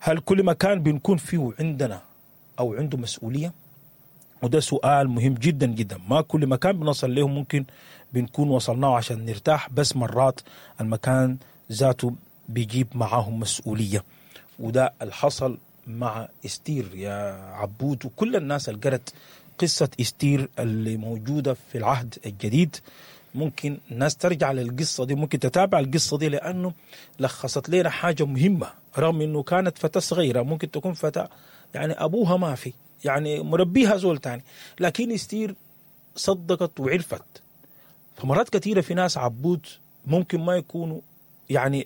هل كل مكان بنكون فيه عندنا او عنده مسؤولية؟ وده سؤال مهم جدا جدا. ما كل مكان بنصل له ممكن بنكون وصلناه عشان نرتاح، بس مرات المكان ذاته بيجيب معاهم مسؤولية. وده اللي حصل مع استير يا عبود، وكل الناس اللي قرت قصة استير اللي موجودة في العهد الجديد. ممكن الناس ترجع للقصة دي، ممكن تتابع القصة دي، لأنه لخصت لنا حاجة مهمة. رغم أنه كانت فتاة صغيرة، ممكن تكون فتاة يعني أبوها ما في، يعني مربيها زول تاني، لكن استير صدقت وعرفت. فمرات كثيرة في ناس عبود ممكن ما يكونوا يعني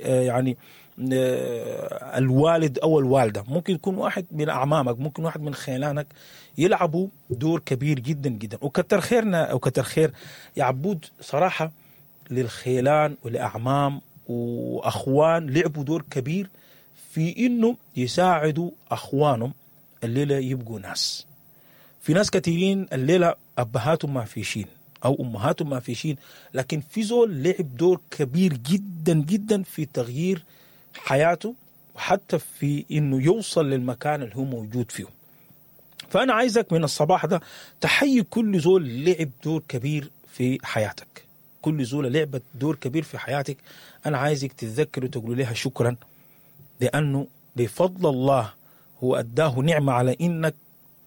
الوالد أو الوالدة، ممكن يكون واحد من أعمامك، ممكن واحد من خيلانك، يلعبوا دور كبير جدا جدا. وكتر خيرنا وكتر خير يا عبود صراحة للخيلان والأعمام وأخوان، لعبوا دور كبير في إنه يساعدوا أخوانهم الليلة يبقوا ناس. في ناس كثيرين الليلة أبهاتهم ما فيشين أو أمهاتهم ما فيشين، لكن في زول لعب دور كبير جدا جدا في تغيير حياته، وحتى في إنه يوصل للمكان اللي هو موجود فيه. فأنا عايزك من الصباح ده تحيي كل زول لعب دور كبير في حياتك، كل زول لعبت دور كبير في حياتك. أنا عايزك تتذكر وتقول لها شكرا، لأنه بفضل الله هو أداه نعمة على إنك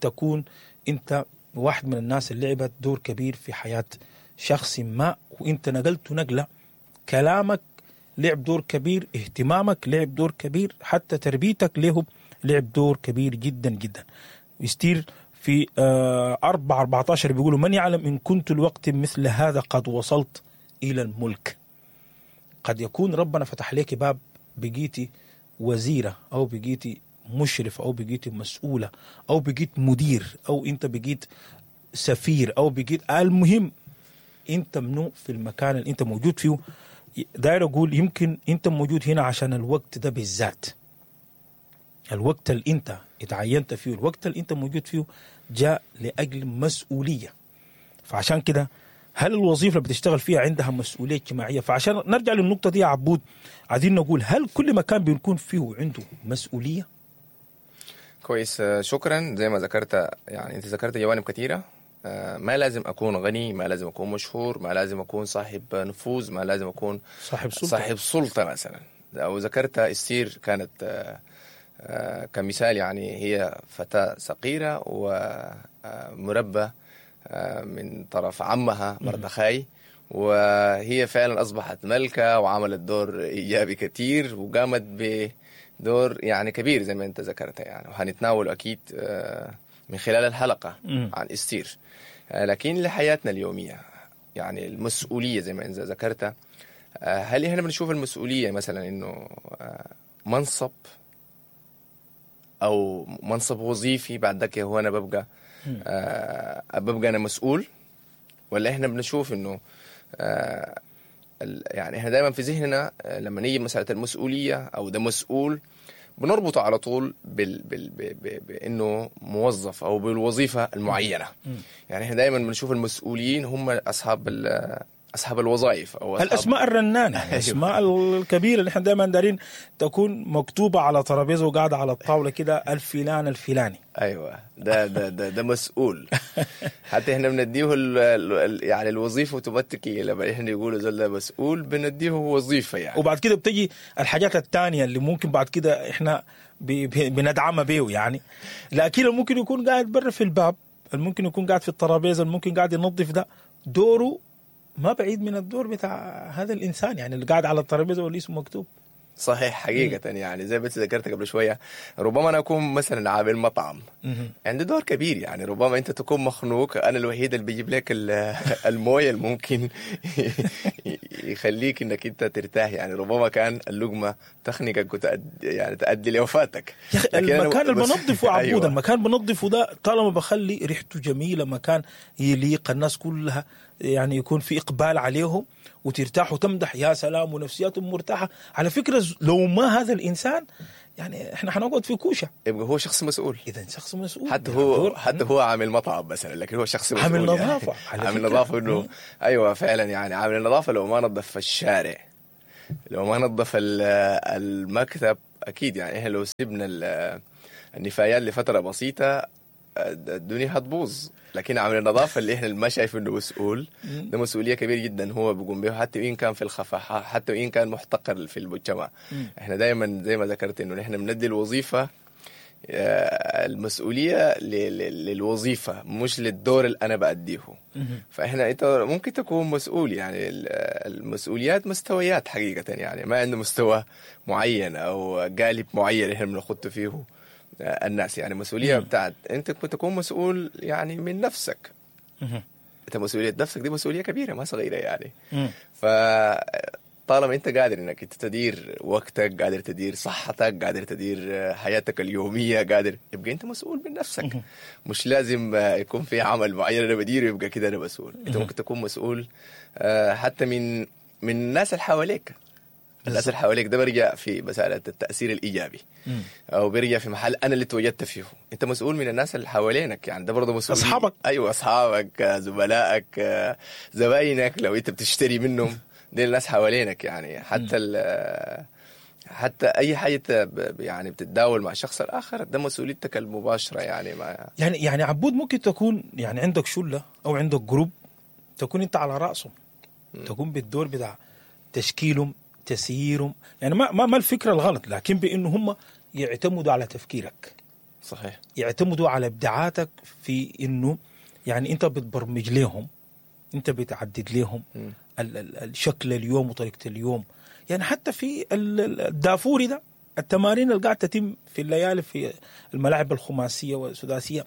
تكون أنت واحد من الناس اللي لعبت دور كبير في حياة شخص ما، وإنت نقلت نقلة. كلامك لعب دور كبير، اهتمامك لعب دور كبير، حتى تربيتك له لعب دور كبير جدا جدا. يستير في 4:14 بيقولوا: من يعلم إن كنت الوقت مثل هذا قد وصلت إلى الملك. قد يكون ربنا فتح لك باب، بقيتي وزيرة أو بقيتي مشرف أو بقيتي مسؤولة أو بقيت مدير أو أنت بقيت سفير أو بقيت، المهم أنت منو في المكان اللي أنت موجود فيه. داير أقول يمكن أنت موجود هنا عشان الوقت ده بالذات، الوقت اللي أنت اتعينت فيه، الوقت اللي أنت موجود فيه جاء لأجل مسؤولية. فعشان كده هل الوظيفة اللي بتشتغل فيها عندها مسؤولية اجتماعية؟ فعشان نرجع للنقطة دي يا عبود، عايزين نقول هل كل مكان بنكون فيه عنده مسؤولية؟ كويس، شكرا. زي ما ذكرت، يعني انت ذكرت جوانب كثيرة. ما لازم اكون غني، ما لازم اكون مشهور، ما لازم اكون صاحب نفوذ، ما لازم اكون صاحب سلطة، صاحب سلطة مثلا. او ذكرت استير كانت كمثال، يعني هي فتاة صغيرة ومربى من طرف عمها مردخاي، وهي فعلا اصبحت ملكة وعملت دور ايجابي كثير وقامت بدور يعني كبير زي ما انت ذكرت يعني، وهنتناول اكيد من خلال الحلقة عن استير. لكن لحياتنا اليومية يعني المسؤولية زي ما انت ذكرت، هل احنا بنشوف المسؤولية مثلا انه منصب او منصب وظيفي بعد ذاك هو انا ببقى ببقى انا مسؤول، ولا احنا بنشوف انه يعني احنا دائما في ذهننا لما نيجي مسألة المسؤولية او ده مسؤول بنربطه على طول بانه موظف او بالوظيفة المعينة. يعني احنا دائما بنشوف المسؤولين هم اصحاب الوظائف او أصحاب الاسماء الرنانة، الاسماء الكبيرة اللي احنا دائما دارين تكون مكتوبة على ترابيزة وقاعدة على الطاولة كده، الفلان الفلاني. ايوه، ده ده ده ده مسؤول. حتى احنا بنديه يعني الوظيفة اوتوماتيكي لما احنا يقولوا زول ده مسؤول بنديه وظيفة يعني. وبعد كده بتجي الحاجات الثانية اللي ممكن بعد كده احنا بندعمها بيه يعني، لكن ممكن يكون قاعد برا في الباب، ممكن يكون قاعد في الترابيزة، ممكن قاعد ينظف، ده دوره ما بعيد من الدور بتاع هذا الإنسان يعني اللي قاعد على الترابيزة واللي اسمه مكتوب. صحيح، حقيقة يعني زي ما ذكرت قبل شوية، ربما أنا أكون مثلا عامل مطعم عندي دور كبير يعني، ربما أنت تكون مخنوق، أنا الوحيد اللي بيجيب لك الموية اللي ممكن يخليك إنك أنت ترتاح يعني، ربما كان اللقمة تخنقك يعني تؤدي لوفاتك. المكان اللي بنظفه عبود. أيوة. المكان بنظفه ده طالما بخلي ريحته جميلة، مكان يليق الناس كلها يعني، يكون في إقبال عليهم وترتاح وتمدح يا سلام ونفسياتهم مرتاحة. على فكرة لو ما هذا الإنسان يعني إحنا حنقعد في كوشة. يبقى هو شخص مسؤول. إذا شخص مسؤول، حتى هو عامل مطعم مثلا، لكن هو شخص مسؤول، عامل نظافة يعني. عامل نظافة إنه أيوة فعلا يعني عامل النظافة لو ما نظف الشارع، لو ما نظف المكتب اكيد يعني احنا لو سيبنا النفايات لفترة بسيطة الدنيا هتبوظ، لكن عامل النظافة اللي احنا ما شايف انه مسؤول، ده مسؤولية كبيرة جدا هو بيقوم بها، حتى وان كان في الخفاء، حتى وان كان محتقر في المجتمع. احنا دائما زي ما ذكرت انه نحن بندي الوظيفة المسؤولية للوظيفة مش للدور اللي انا بأديه. فاحنا انت ممكن تكون مسؤول، يعني المسؤوليات مستويات حقيقة، يعني ما عنده مستوى معين او قالب معين احنا بنخط فيه الناس. يعني مسؤولية بتاعت انت تكون مسؤول يعني من نفسك، انت مسؤولية نفسك دي مسؤولية كبيرة ما صغيرة يعني. فطالما انت قادر انك انت تدير وقتك، قادر تدير صحتك، قادر تدير حياتك اليومية، قادر، يبقى انت مسؤول من نفسك. مش لازم يكون في عمل معين انا بديره يبقى كده انا مسؤول. انت ممكن تكون مسؤول حتى من الناس اللي حواليك. الناس اللي حواليك ده برجع في مسألة التأثير الإيجابي، أو برجع في محل أنا اللي تواجدت فيه. أنت مسؤول من الناس اللي حوالينك، يعني ده برضه مسؤول. أصحابك. أيوة، أصحابك، زملائك، زباينك لو أنت بتشتري منهم، دي الناس حوالينك يعني. حتى حتى أي حاجة يعني بتتداول مع الشخص الآخر ده مسؤوليتك المباشرة يعني. مع يعني عبود ممكن تكون يعني عندك شلة أو عندك group تكون أنت على رأسهم، تكون بالدور بتاع تشكيلهم، تسييرهم، يعني ما الفكرة الغلط، لكن بانه هم يعتمدوا على تفكيرك. صحيح، يعتمدوا على ابداعاتك في انه يعني انت بتبرمج لهم، انت بتعدد لهم الشكل اليوم وطريقه اليوم. يعني حتى في الدافوري ده، التمارين اللي قاعدة تتم في الليالي في الملاعب الخماسيه والسداسيه،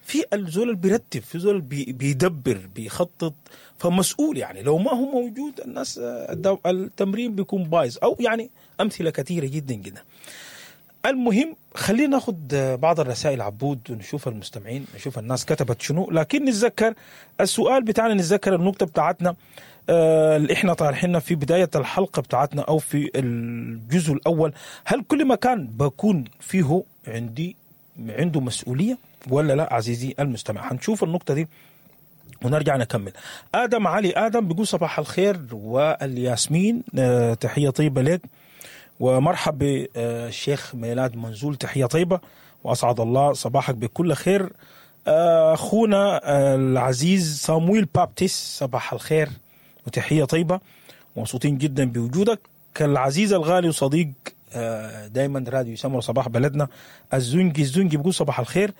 في الزول اللي بيرتب، في زول بيدبر، بيخطط، فمسؤول يعني. لو ما هو موجود الناس التمرين بيكون بايظ، او يعني امثلة كثيرة جدا جدا. المهم خلينا ناخذ بعض الرسائل عبود ونشوف المستمعين، نشوف الناس كتبت شنو، لكن نتذكر السؤال بتاعنا، نتذكر النقطة بتاعتنا اللي احنا طارحينها في بداية الحلقة بتاعتنا او في الجزء الاول. هل كل مكان بكون فيه عنده مسؤولية ولا لا عزيزي المستمع؟ هنشوف النقطة دي ونرجع نكمل. آدم علي آدم بيقول صباح الخير والياسمين، تحية طيبة لك، ومرحب بالشيخ ميلاد منزول، تحية طيبة وأسعد الله صباحك بكل خير. أخونا العزيز صامويل بابتس، صباح الخير وتحية طيبة، مبسوطين جدا بوجودك. العزيز الغالي وصديق دايما راديو سمر صباح بلدنا الزنجي بيقول صباح الخير،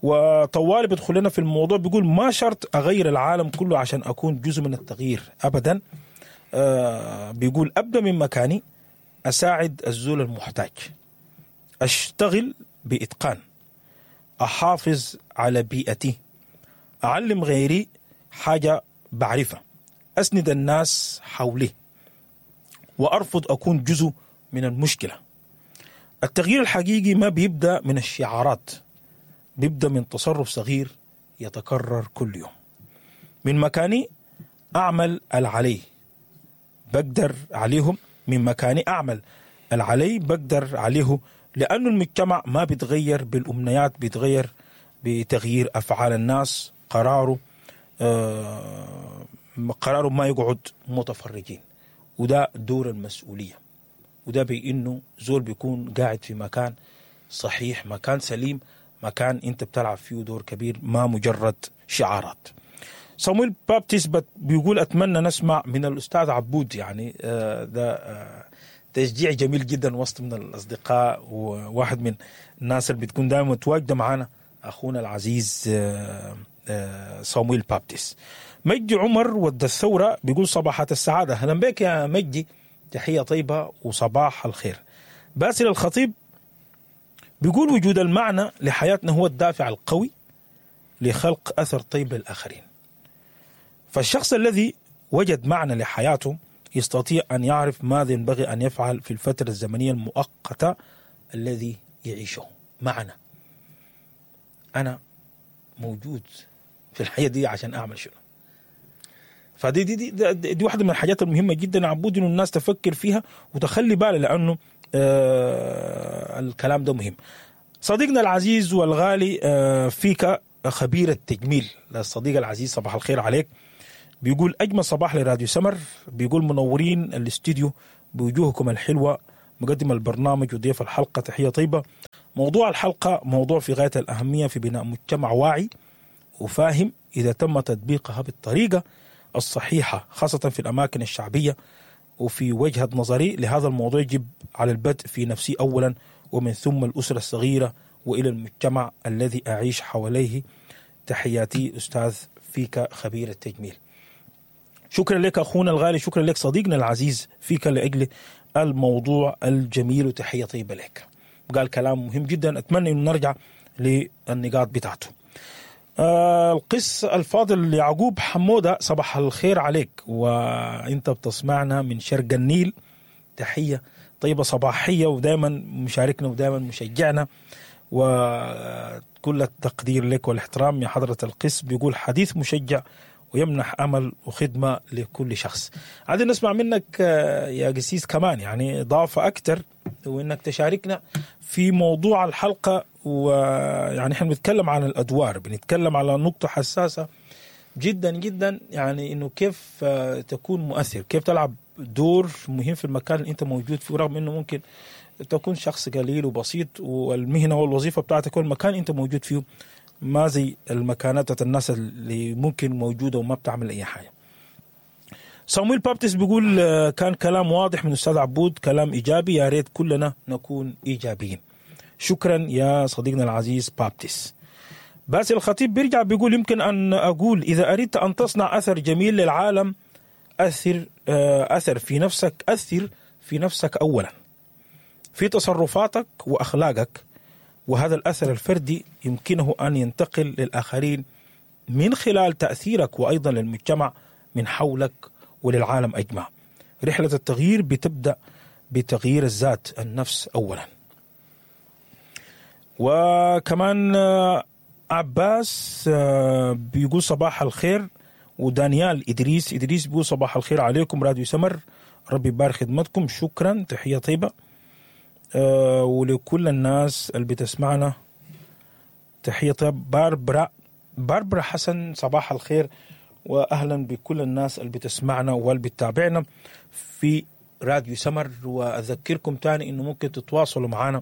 وطوالي بيدخل لنا في الموضوع بيقول ما شرط أغير العالم كله عشان أكون جزء من التغيير أبدا. بيقول أبدأ من مكاني، أساعد الزول المحتاج، أشتغل بإتقان، أحافظ على بيئتي، أعلم غيري حاجة بعرفها، أسند الناس حولي، وأرفض أكون جزء من المشكلة. التغيير الحقيقي ما بيبدأ من الشعارات، بيبدأ من تصرف صغير يتكرر كل يوم. من مكاني أعمل العلي بقدر عليهم، من مكاني أعمل العلي بقدر عليه، لأنه المجتمع ما بيتغير بالأمنيات، بيتغير بتغيير أفعال الناس. قراره قراره ما يقعد متفرجين، وده دور المسؤولية، وده بأنه زول بيكون قاعد في مكان صحيح، مكان سليم، مكان انت بتلعب فيه دور كبير، ما مجرد شعارات. صامويل بابتس بيقول أتمنى نسمع من الأستاذ عبود، يعني ده تشجيع جميل جدا وسط من الأصدقاء، وواحد من الناس اللي بتكون دائما متواجدة معنا أخونا العزيز صامويل بابتس. مجدي عمر ود الثورة بيقول صباحات السعادة، أهلا بك يا مجدي، تحية طيبة وصباح الخير. باسل الخطيب بيقول وجود المعنى لحياتنا هو الدافع القوي لخلق أثر طيب للآخرين، فالشخص الذي وجد معنى لحياته يستطيع أن يعرف ماذا ينبغي أن يفعل في الفترة الزمنية المؤقتة الذي يعيشه. معنى، أنا موجود في الحياة دي عشان أعمل شنو. فدي دي دي, دي, دي واحدة من الحاجات المهمة جدا عبود، إنه الناس تفكر فيها وتخلي بالها، لأنه الكلام ده مهم. صديقنا العزيز والغالي فيك خبير التجميل، الصديق العزيز صباح الخير عليك، بيقول أجمل صباح لراديو سمر، بيقول منورين الاستديو بوجوهكم الحلوة، مقدم البرنامج وضيف الحلقة، تحية طيبة. موضوع الحلقة موضوع في غاية الأهمية في بناء مجتمع واعي وفاهم إذا تم تطبيقها بالطريقة الصحيحة، خاصة في الأماكن الشعبية. وفي وجهة نظري لهذا الموضوع يجب على البدء في نفسي أولا، ومن ثم الأسرة الصغيرة وإلى المجتمع الذي أعيش حواليه. تحياتي أستاذ فيك خبير التجميل. شكرا لك أخونا الغالي، شكرا لك صديقنا العزيز فيك لأجل الموضوع الجميل، وتحية طيبة لك. قال كلام مهم جدا، أتمنى أن نرجع للنقاط بتاعته. القس الفاضل يعقوب حمودة، صباح الخير عليك وانت بتسمعنا من شرق النيل. تحية طيبة صباحية، ودائما مشاركنا ودائما مشجعنا، وكل التقدير لك والاحترام يا حضرة القس. بيقول حديث مشجع ويمنح أمل وخدمة لكل شخص. عايزين نسمع منك يا قسيس كمان يعني إضافة أكتر، وإنك تشاركنا في موضوع الحلقة. ويعني إحنا بنتكلم عن الأدوار، بنتكلم على نقطة حساسة جدا جدا، يعني إنه كيف تكون مؤثر، كيف تلعب دور مهم في المكان اللي أنت موجود فيه، رغم إنه ممكن تكون شخص قليل وبسيط، والمهنة والوظيفة بتاعتك والمكان أنت موجود فيه ما زي المكانات الناس اللي ممكن موجودة وما بتعمل أي حاجة. صامويل بابتس بيقول كان كلام واضح من أستاذ عبود، كلام إيجابي، يا ريت كلنا نكون إيجابيين. شكرا يا صديقنا العزيز بابتس. باسل الخطيب بيرجع بيقول يمكن أن أقول إذا أردت أن تصنع أثر جميل للعالم أثر في نفسك، أثر في نفسك أولا في تصرفاتك وأخلاقك، وهذا الأثر الفردي يمكنه أن ينتقل للآخرين من خلال تأثيرك، وأيضا للمجتمع من حولك وللعالم أجمع. رحلة التغيير بتبدأ بتغيير الذات، النفس أولا. وكمان عباس بيقول صباح الخير، ودانيال إدريس بيقول صباح الخير عليكم راديو سمر، ربي يبارك خدمتكم، شكرا، تحية طيبة. ولكل الناس اللي بتسمعنا تحية طيبة. باربرا حسن صباح الخير، وأهلا بكل الناس اللي بتسمعنا واللي بتتابعنا في راديو سمر. وأذكركم تاني إنه ممكن تتواصلوا معنا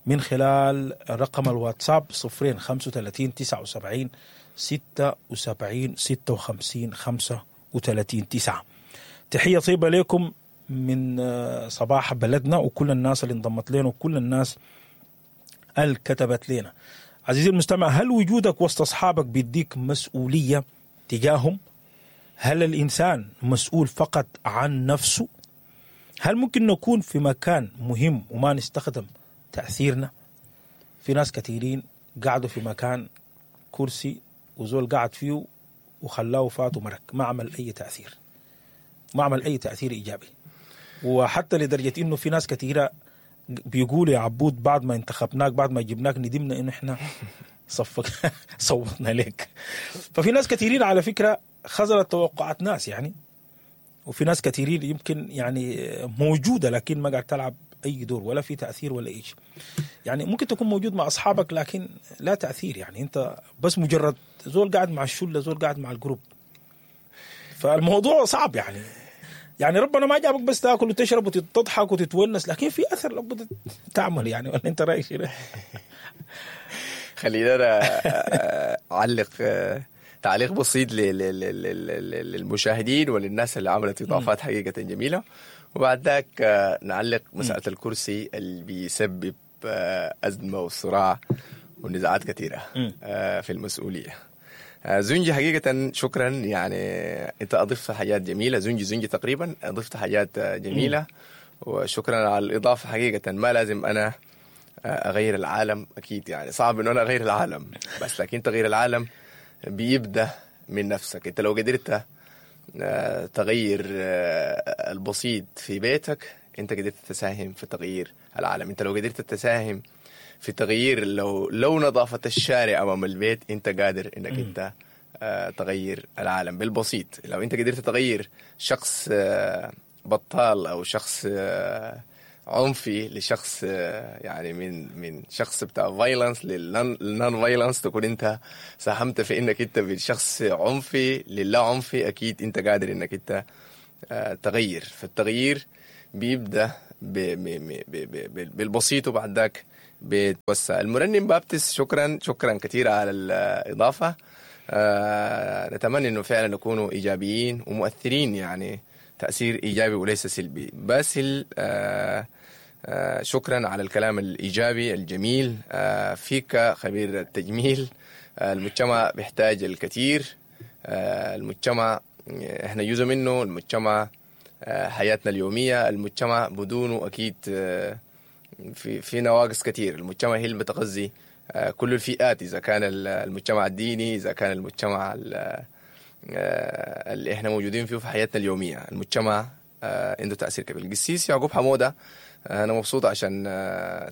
من خلال رقم الواتساب 0 35 79 76 56 35 9. تحية طيبة لكم من صباح بلدنا، وكل الناس اللي انضمت لنا وكل الناس اللي كتبت لنا. عزيزي المستمع، هل وجودك وسط أصحابك بيديك مسؤولية تجاههم؟ هل الإنسان مسؤول فقط عن نفسه؟ هل ممكن نكون في مكان مهم وما نستخدم تأثيرنا؟ في ناس كثيرين قعدوا في مكان كرسي وزول قعد فيه وخلاه فات ومرك، ما عمل أي تأثير، ما عمل أي تأثير إيجابي. وحتى لدرجة إنه في ناس كثيرة بيقولوا يا عبود بعد ما انتخبناك، بعد ما جبناك، ندمنا إنه إحنا صفق صوتنا لك. ففي ناس كثيرين على فكرة خذلت توقعات ناس يعني، وفي ناس كثيرين يمكن يعني موجودة لكن ما قاعد تلعب أي دور ولا في تأثير ولا إيش. يعني ممكن تكون موجود مع أصحابك لكن لا تأثير، يعني أنت بس مجرد زول قاعد مع الشلة، زول قاعد مع ال group. فالموضوع صعب يعني. يعني ربنا ما جابك بس تاكل وتشرب وتضحك وتتونس، لكن في اثر لابد تعمل يعني. ولا انت رايك شنو؟ خلينا انا اعلق تعليق بسيط للمشاهدين وللناس اللي عملت اضافات حقيقة جميلة، وبعد ذاك نعلق مسالة الكرسي اللي بيسبب ازمة وصراع ونزاعات كثيرة في المسؤولية. زنجي حقيقة شكرا، يعني أنت أضفت حاجات جميلة. زنجي تقريبا أضفت حاجات جميلة، وشكرا على الإضافة. حقيقة ما لازم أنا أغير العالم، أكيد يعني صعب إنه أنا أغير العالم، بس لكن تغيير العالم بيبدأ من نفسك. أنت لو قدرت تغير البسيط في بيتك، أنت قدرت تساهم في تغيير العالم. أنت لو قدرت تساهم في تغيير لو نظافة الشارع أمام البيت، أنت قادر إنك أنت تغير العالم بالبسيط. لو أنت قدرت تغير شخص بطال أو شخص عنفي لشخص يعني من شخص بتاع violence لل non violence، تكون أنت ساهمت في إنك أنت من شخص عنفي للا عنفي، أكيد أنت قادر إنك أنت تغير. فالتغيير بيبدأ بالبسيط وبعد ذاك بتوسع. المرنم بابتس، شكرا شكرا كثير على الاضافة. نتمنى انه فعلا نكونوا ايجابيين ومؤثرين، يعني تاثير ايجابي وليس سلبي. باسل، شكرا على الكلام الايجابي الجميل. فيك خبير التجميل، المجتمع بيحتاج الكثير. المجتمع احنا جزء منه، المجتمع حياتنا اليومية، المجتمع بدونه اكيد في نواقص كثير. المجتمع هي اللي بتغذي كل الفئات، اذا كان المجتمع الديني، اذا كان المجتمع اللي احنا موجودين فيه في حياتنا اليومية، المجتمع عنده تاثير كبير. القسيس يعقوب حموده، انا مبسوط عشان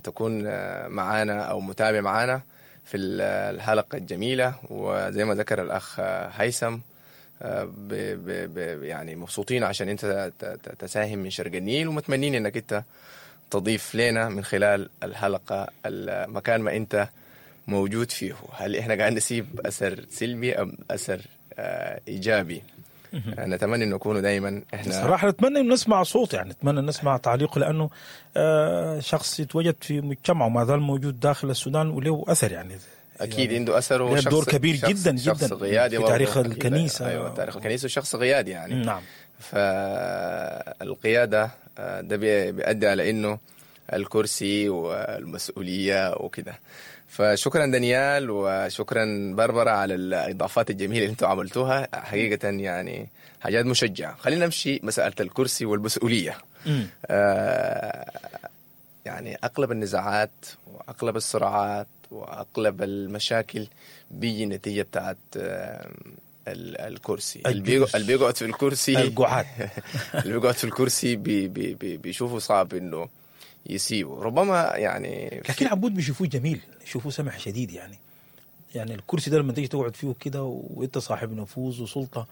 تكون معانا او متابع معانا في الحلقة الجميلة، وزي ما ذكر الاخ هيثم يعني مبسوطين عشان انت تساهم من شرق النيل، ومتمنين انك انت تضيف لنا من خلال الحلقة المكان ما انت موجود فيه. هل احنا قاعد نسيب اثر سلبي ام اثر ايجابي؟ نتمنى انه نكونوا دائما احنا صراحة نتمنى انه نسمع صوت، يعني نتمنى نسمع تعليقه، لانه شخص يتوجد في مجتمعه وما زال موجود داخل السودان وله اثر، يعني اكيد عنده اثر، وشخص دور كبير جدا شخص جدا قيادي في تاريخ الكنيسة. ايوه، تاريخ الكنيسة، وشخص قيادي يعني. نعم. فالقياده ده بيؤدي على انه الكرسي والمسؤولية وكده. فشكرا دانيال وشكرا بربرة على الاضافات الجميلة اللي انتم عملتوها، حقيقة يعني حاجات مشجعه. خلينا نمشي مسالة الكرسي والمسؤولية. يعني اغلب النزاعات واغلب الصراعات واغلب المشاكل بيجي نتيجة بتاعت الكرسي. اللي بيقعد في الكرسي، القعاد اللي بيقعد في الكرسي بي بي بي بيشوفه صعب انه يسيبه ربما يعني. لكن عبود بيشوفوه جميل، يشوفوه سمح شديد يعني. يعني الكرسي ده لما تيجي تقعد فيه كده وانت صاحب نفوذ وسلطة،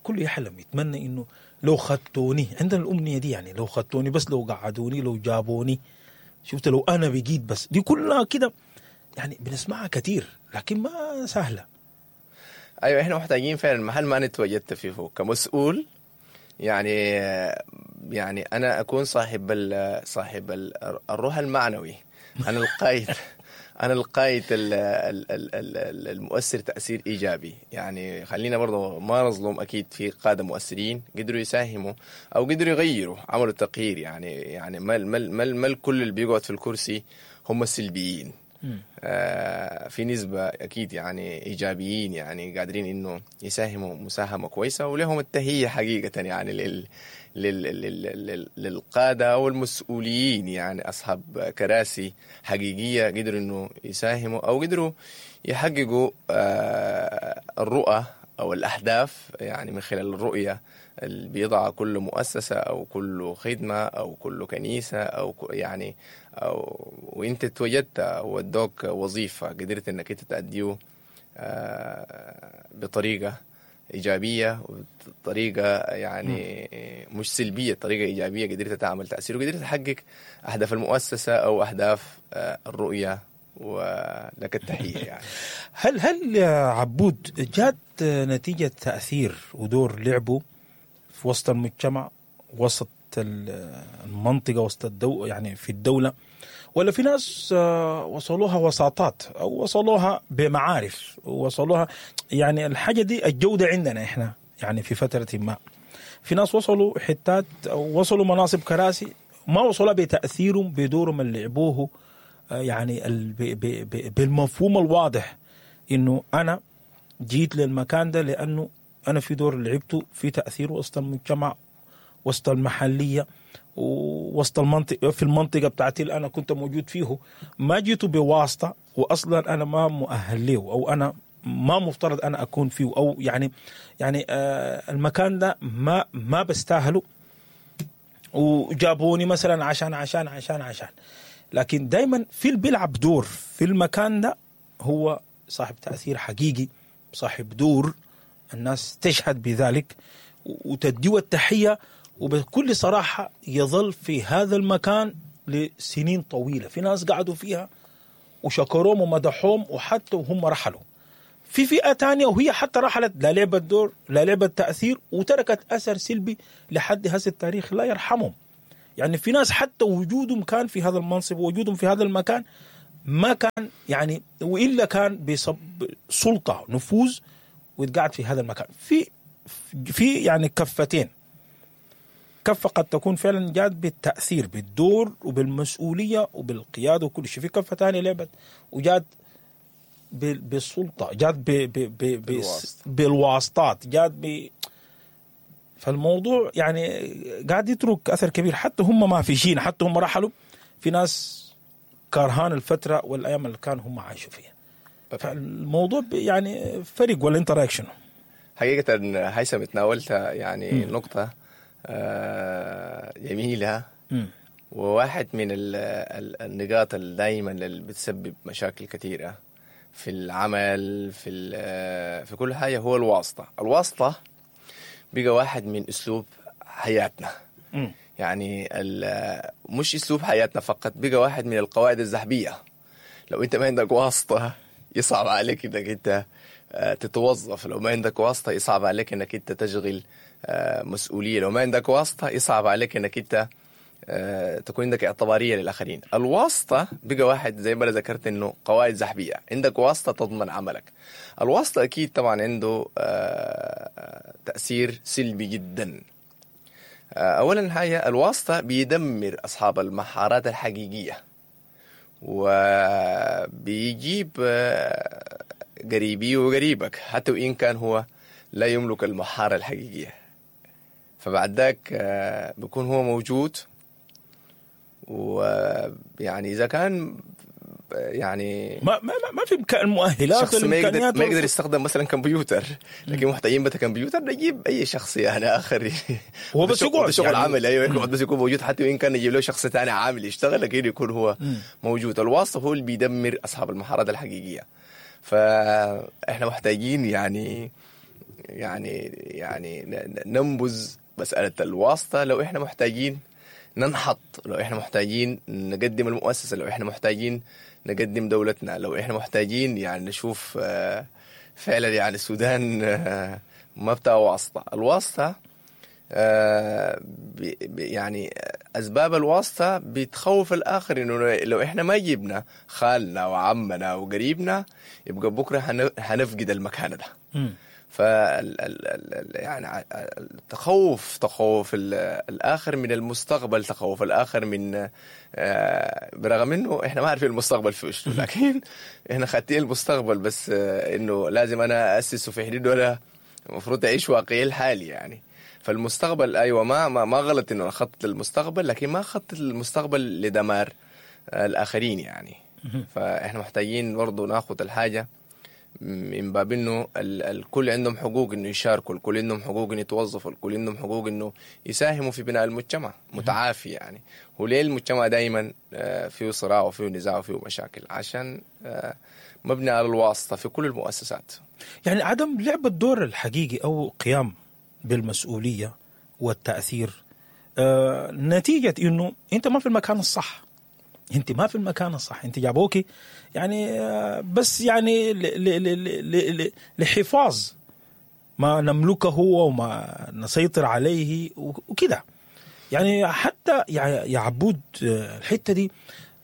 كله يحلم يتمنى انه لو خدتوني، عندنا الامنية دي يعني، لو خدتوني بس، لو قعدوني، لو جابوني، شفت لو انا بقيت بس، دي كلها كده يعني بنسمعها كثير، لكن ما سهلة. ايوه، احنا محتاجين فعلا محل ما انا تواجدت فيه كمسؤول، يعني انا اكون صاحب صاحب الروح المعنوي، انا القائد، انا القائد المؤثر تاثير ايجابي. يعني خلينا برضه ما نظلم، اكيد في قاده مؤثرين قدروا يساهموا او قدروا يغيروا، عملوا تغيير يعني. يعني ما الكل اللي بيقعد في الكرسي هم السلبيين. في نسبة أكيد يعني إيجابيين، يعني قادرين إنه يساهموا مساهمة كويسة، ولهم التهية حقيقة يعني للقادة والمسؤولين، يعني أصحاب كراسي حقيقية قدروا إنه يساهموا أو قدروا يحققوا الرؤى أو الأهداف، يعني من خلال الرؤية اللي بيضع كل مؤسسة أو كل خدمة أو كل كنيسة أو يعني أو وأنت توجدت ودوك وظيفة قدرت إنك أنت تأدية بطريقة إيجابية وطريقة يعني مش سلبية، طريقة إيجابية قدرت تعمل تأثير وقدرت تحقق أهداف المؤسسة أو أهداف الرؤية، ولك التحية يعني. هل يا عبود جات نتيجة تأثير ودور لعبه في وسط المجتمع، وسط المنطقة، وسط يعني في الدولة، ولا في ناس وصلوها وساطات أو وصلوها بمعارف، وصلوها يعني الحاجة دي الجودة عندنا إحنا يعني في فترة ما في ناس وصلوا حتات أو وصلوا مناصب كراسي ما وصلوا بتأثيرهم بدورهم اللي لعبوه، يعني بالمفهوم الواضح إنه أنا جيت للمكان ده لأنه أنا في دور لعبته في تأثير وسط المجتمع، وسط المحلية، ووسط المنطقة، في المنطقة بتاعتي اللي أنا كنت موجود فيه، ما جيت بواسطة، وأصلا أنا ما مؤهل له، أو أنا ما مفترض أنا أكون فيه، أو يعني المكان ده ما بستاهله، وجابوني مثلا عشان عشان عشان عشان. لكن دايما في اللي بيلعب دور في المكان ده هو صاحب تأثير حقيقي، صاحب دور الناس تشهد بذلك وتديه التحية، وبكل صراحة يظل في هذا المكان لسنين طويلة. في ناس قعدوا فيها وشكروهم ومدحوهم وحتى وهم رحلوا. في فئة تانية وهي حتى رحلت لا لعبت دور لا لعبت تأثير وتركت أثر سلبي لحد هذا التاريخ لا يرحمهم. يعني في ناس حتى وجودهم كان في هذا المنصب ووجودهم في هذا المكان ما كان يعني، والا كان بسبب سلطة نفوذ ويتقعد في هذا المكان. في يعني كفتين، كفه قد تكون فعلا جات بالتاثير بالدور وبالمسؤوليه وبالقياده وكل شيء، في كفه ثانية لعبت وجات بالسلطة، جات بالواسطات، جات فالموضوع يعني قاعد يترك اثر كبير. حتى هم ما فيشين، حتى هم رحلوا، في ناس كرهان الفترة والايام اللي كانوا هم عايشوا فيها. فالموضوع يعني فرق، ولا انت رايك شنو؟ حقيقة هيثم تناولت يعني نقطة جميلة، وواحد من النقاط اللي دائما اللي بتسبب مشاكل كثيرة في العمل في كل حاجة هو الواسطة. الواسطة بقى واحد من اسلوب حياتنا. يعني مش اسلوب حياتنا فقط، بقى واحد من القواعد الذهبية. لو انت ما عندك واسطه يصعب عليك انك انت تتوظف، لو ما عندك واسطه يصعب عليك انك انت تشغل مسؤولية، لو ما عندك واسطه يصعب عليك انك انت تكون عندك اعتباريه للاخرين. الواسطة بقى واحد زي ما ذكرت انه قواعد ذهبية، عندك واسطه تضمن عملك. الواسطة اكيد طبعا عنده تاثير سلبي جدا. اولا حاجة، الواسطة بيدمر اصحاب المهارات الحقيقية، وبيجيب قريبي وقريبك حتى وان كان هو لا يملك المهارة الحقيقية. فبعد ذاك بيكون هو موجود، ويعني اذا كان يعني ما ما ما في المؤهلات، شخص ما يقدر يستخدم مثلا كمبيوتر، لكن محتاجين بتا كمبيوتر نجيب اي شخص يعني اخر هو بس يقعد شغل يعني عمل، ايوه يقعد بس يكون موجود، حتى وان كان نجيب له شخص ثاني عامل يشتغل لكن يكون هو موجود. الواسطة هو اللي بيدمر اصحاب المهارات الحقيقية. فاحنا محتاجين يعني يعني يعني ننبذ مسالة الواسطة. لو احنا محتاجين ننحط، لو احنا محتاجين نقدم المؤسسة، لو احنا محتاجين نقدم دولتنا، لو احنا محتاجين يعني نشوف فعلا يعني السودان ما بتاع واسطه. الواسطة يعني اسباب الواسطة بتخوف الاخر، انه لو احنا ما جبنا خالنا وعمنا وقريبنا يبقى بكره حنفقد المكان ده. فال يعني التخوف، تخوف الاخر من المستقبل، تخوف الاخر من برغم انه احنا ما عارفين المستقبل في وشه، لكن احنا خاتين المستقبل، بس انه لازم انا اسسه في حدود، ولا المفروض اعيش واقعي الحالي يعني. فالمستقبل ايوه ما ما, ما غلط انه اخطط للمستقبل، لكن ما اخطط للمستقبل لدمار الاخرين يعني. فاحنا محتاجين برضه ناخذ الحاجة من باب انه الكل عندهم حقوق انه يشاركوا، الكل عندهم حقوق انه يتوظفوا، الكل عندهم حقوق انه يساهموا في بناء المجتمع متعافي يعني. وليه المجتمع دائما فيه صراع وفيه نزاع وفيه مشاكل؟ عشان مبني على الواسطة في كل المؤسسات. يعني عدم لعب الدور الحقيقي او قيام بالمسؤولية والتاثير نتيجة انه انت ما في المكان الصح. انت ما في المكان الصح، انت جابوكي يعني بس يعني لحفاظ ما نملكه وما نسيطر عليه وكده يعني. حتى يا عبود الحتة دي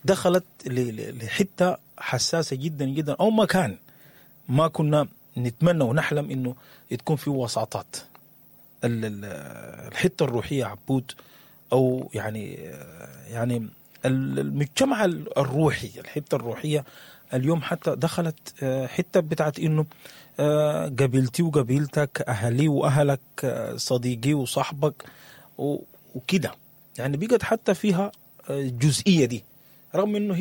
دخلت لحته حساسة جدا جدا، او مكان ما كنا نتمنى ونحلم انه تكون في وساطات. الحتة الروحية عبود، او يعني المجتمع الروحي، الحتة الروحية اليوم حتى دخلت حتة بتاعت انه قبيلتي وقبيلتك، اهلي واهلك، صديقي وصاحبك وكده يعني. بقت حتى فيها الجزئية دي، رغم انه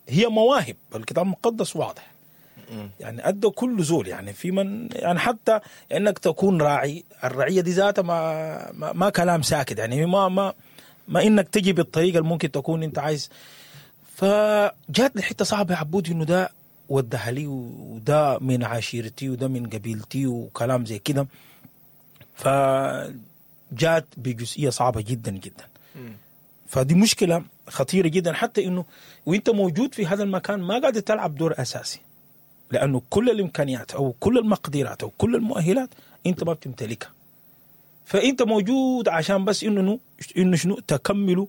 هي مواهب. الكتاب المقدس واضح يعني ادى كل زول يعني في من يعني حتى انك تكون راعي، الرعية دي ذاتها ما, ما ما كلام ساكت يعني، ما ما ما انك تجي بالطريقة اللي ممكن تكون انت عايز. فجات لحته صعبة يا عبود، انه ده ودها لي وده من عشيرتي وده من قبيلتي وكلام زي كده. فجات بجزئيه صعبة جدا جدا. فدي مشكلة خطيرة جدا، حتى انه وانت موجود في هذا المكان ما قاعد تلعب دور اساسي، لانه كل الامكانيات او كل المقدرات او كل المؤهلات انت ما بتمتلكها. فانت موجود عشان بس انه شنو تكملوا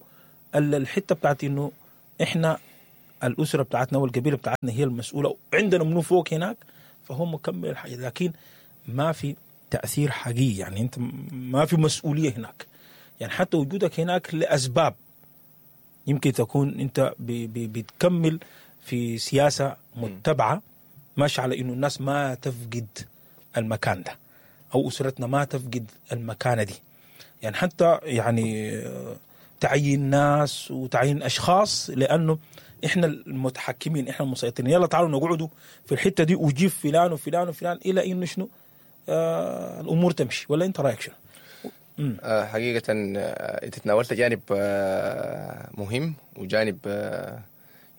الحتة بتاعت انه احنا الاسرة بتاعتنا والقبيله بتاعتنا هي المسؤولة، عندنا منو فوق هناك، فهو مكمل الحاجة، لكن ما في تاثير حقيقي. يعني انت ما في مسؤولية هناك، يعني حتى وجودك هناك لاسباب يمكن تكون انت بتكمل في سياسة متبعة ماشي على انه الناس ما تفقد المكان ده او اسرتنا ما تفقد المكانة دي. يعني حتى يعني تعيين ناس وتعيين اشخاص لانه احنا المتحكمين، احنا المسيطرين، يلا تعالوا نقعدوا في الحتة دي وجيب فلان وفلان وفلان الى انه شنو الامور تمشي. ولا انت رايك شنو؟ حقيقة انت تناولت جانب مهم وجانب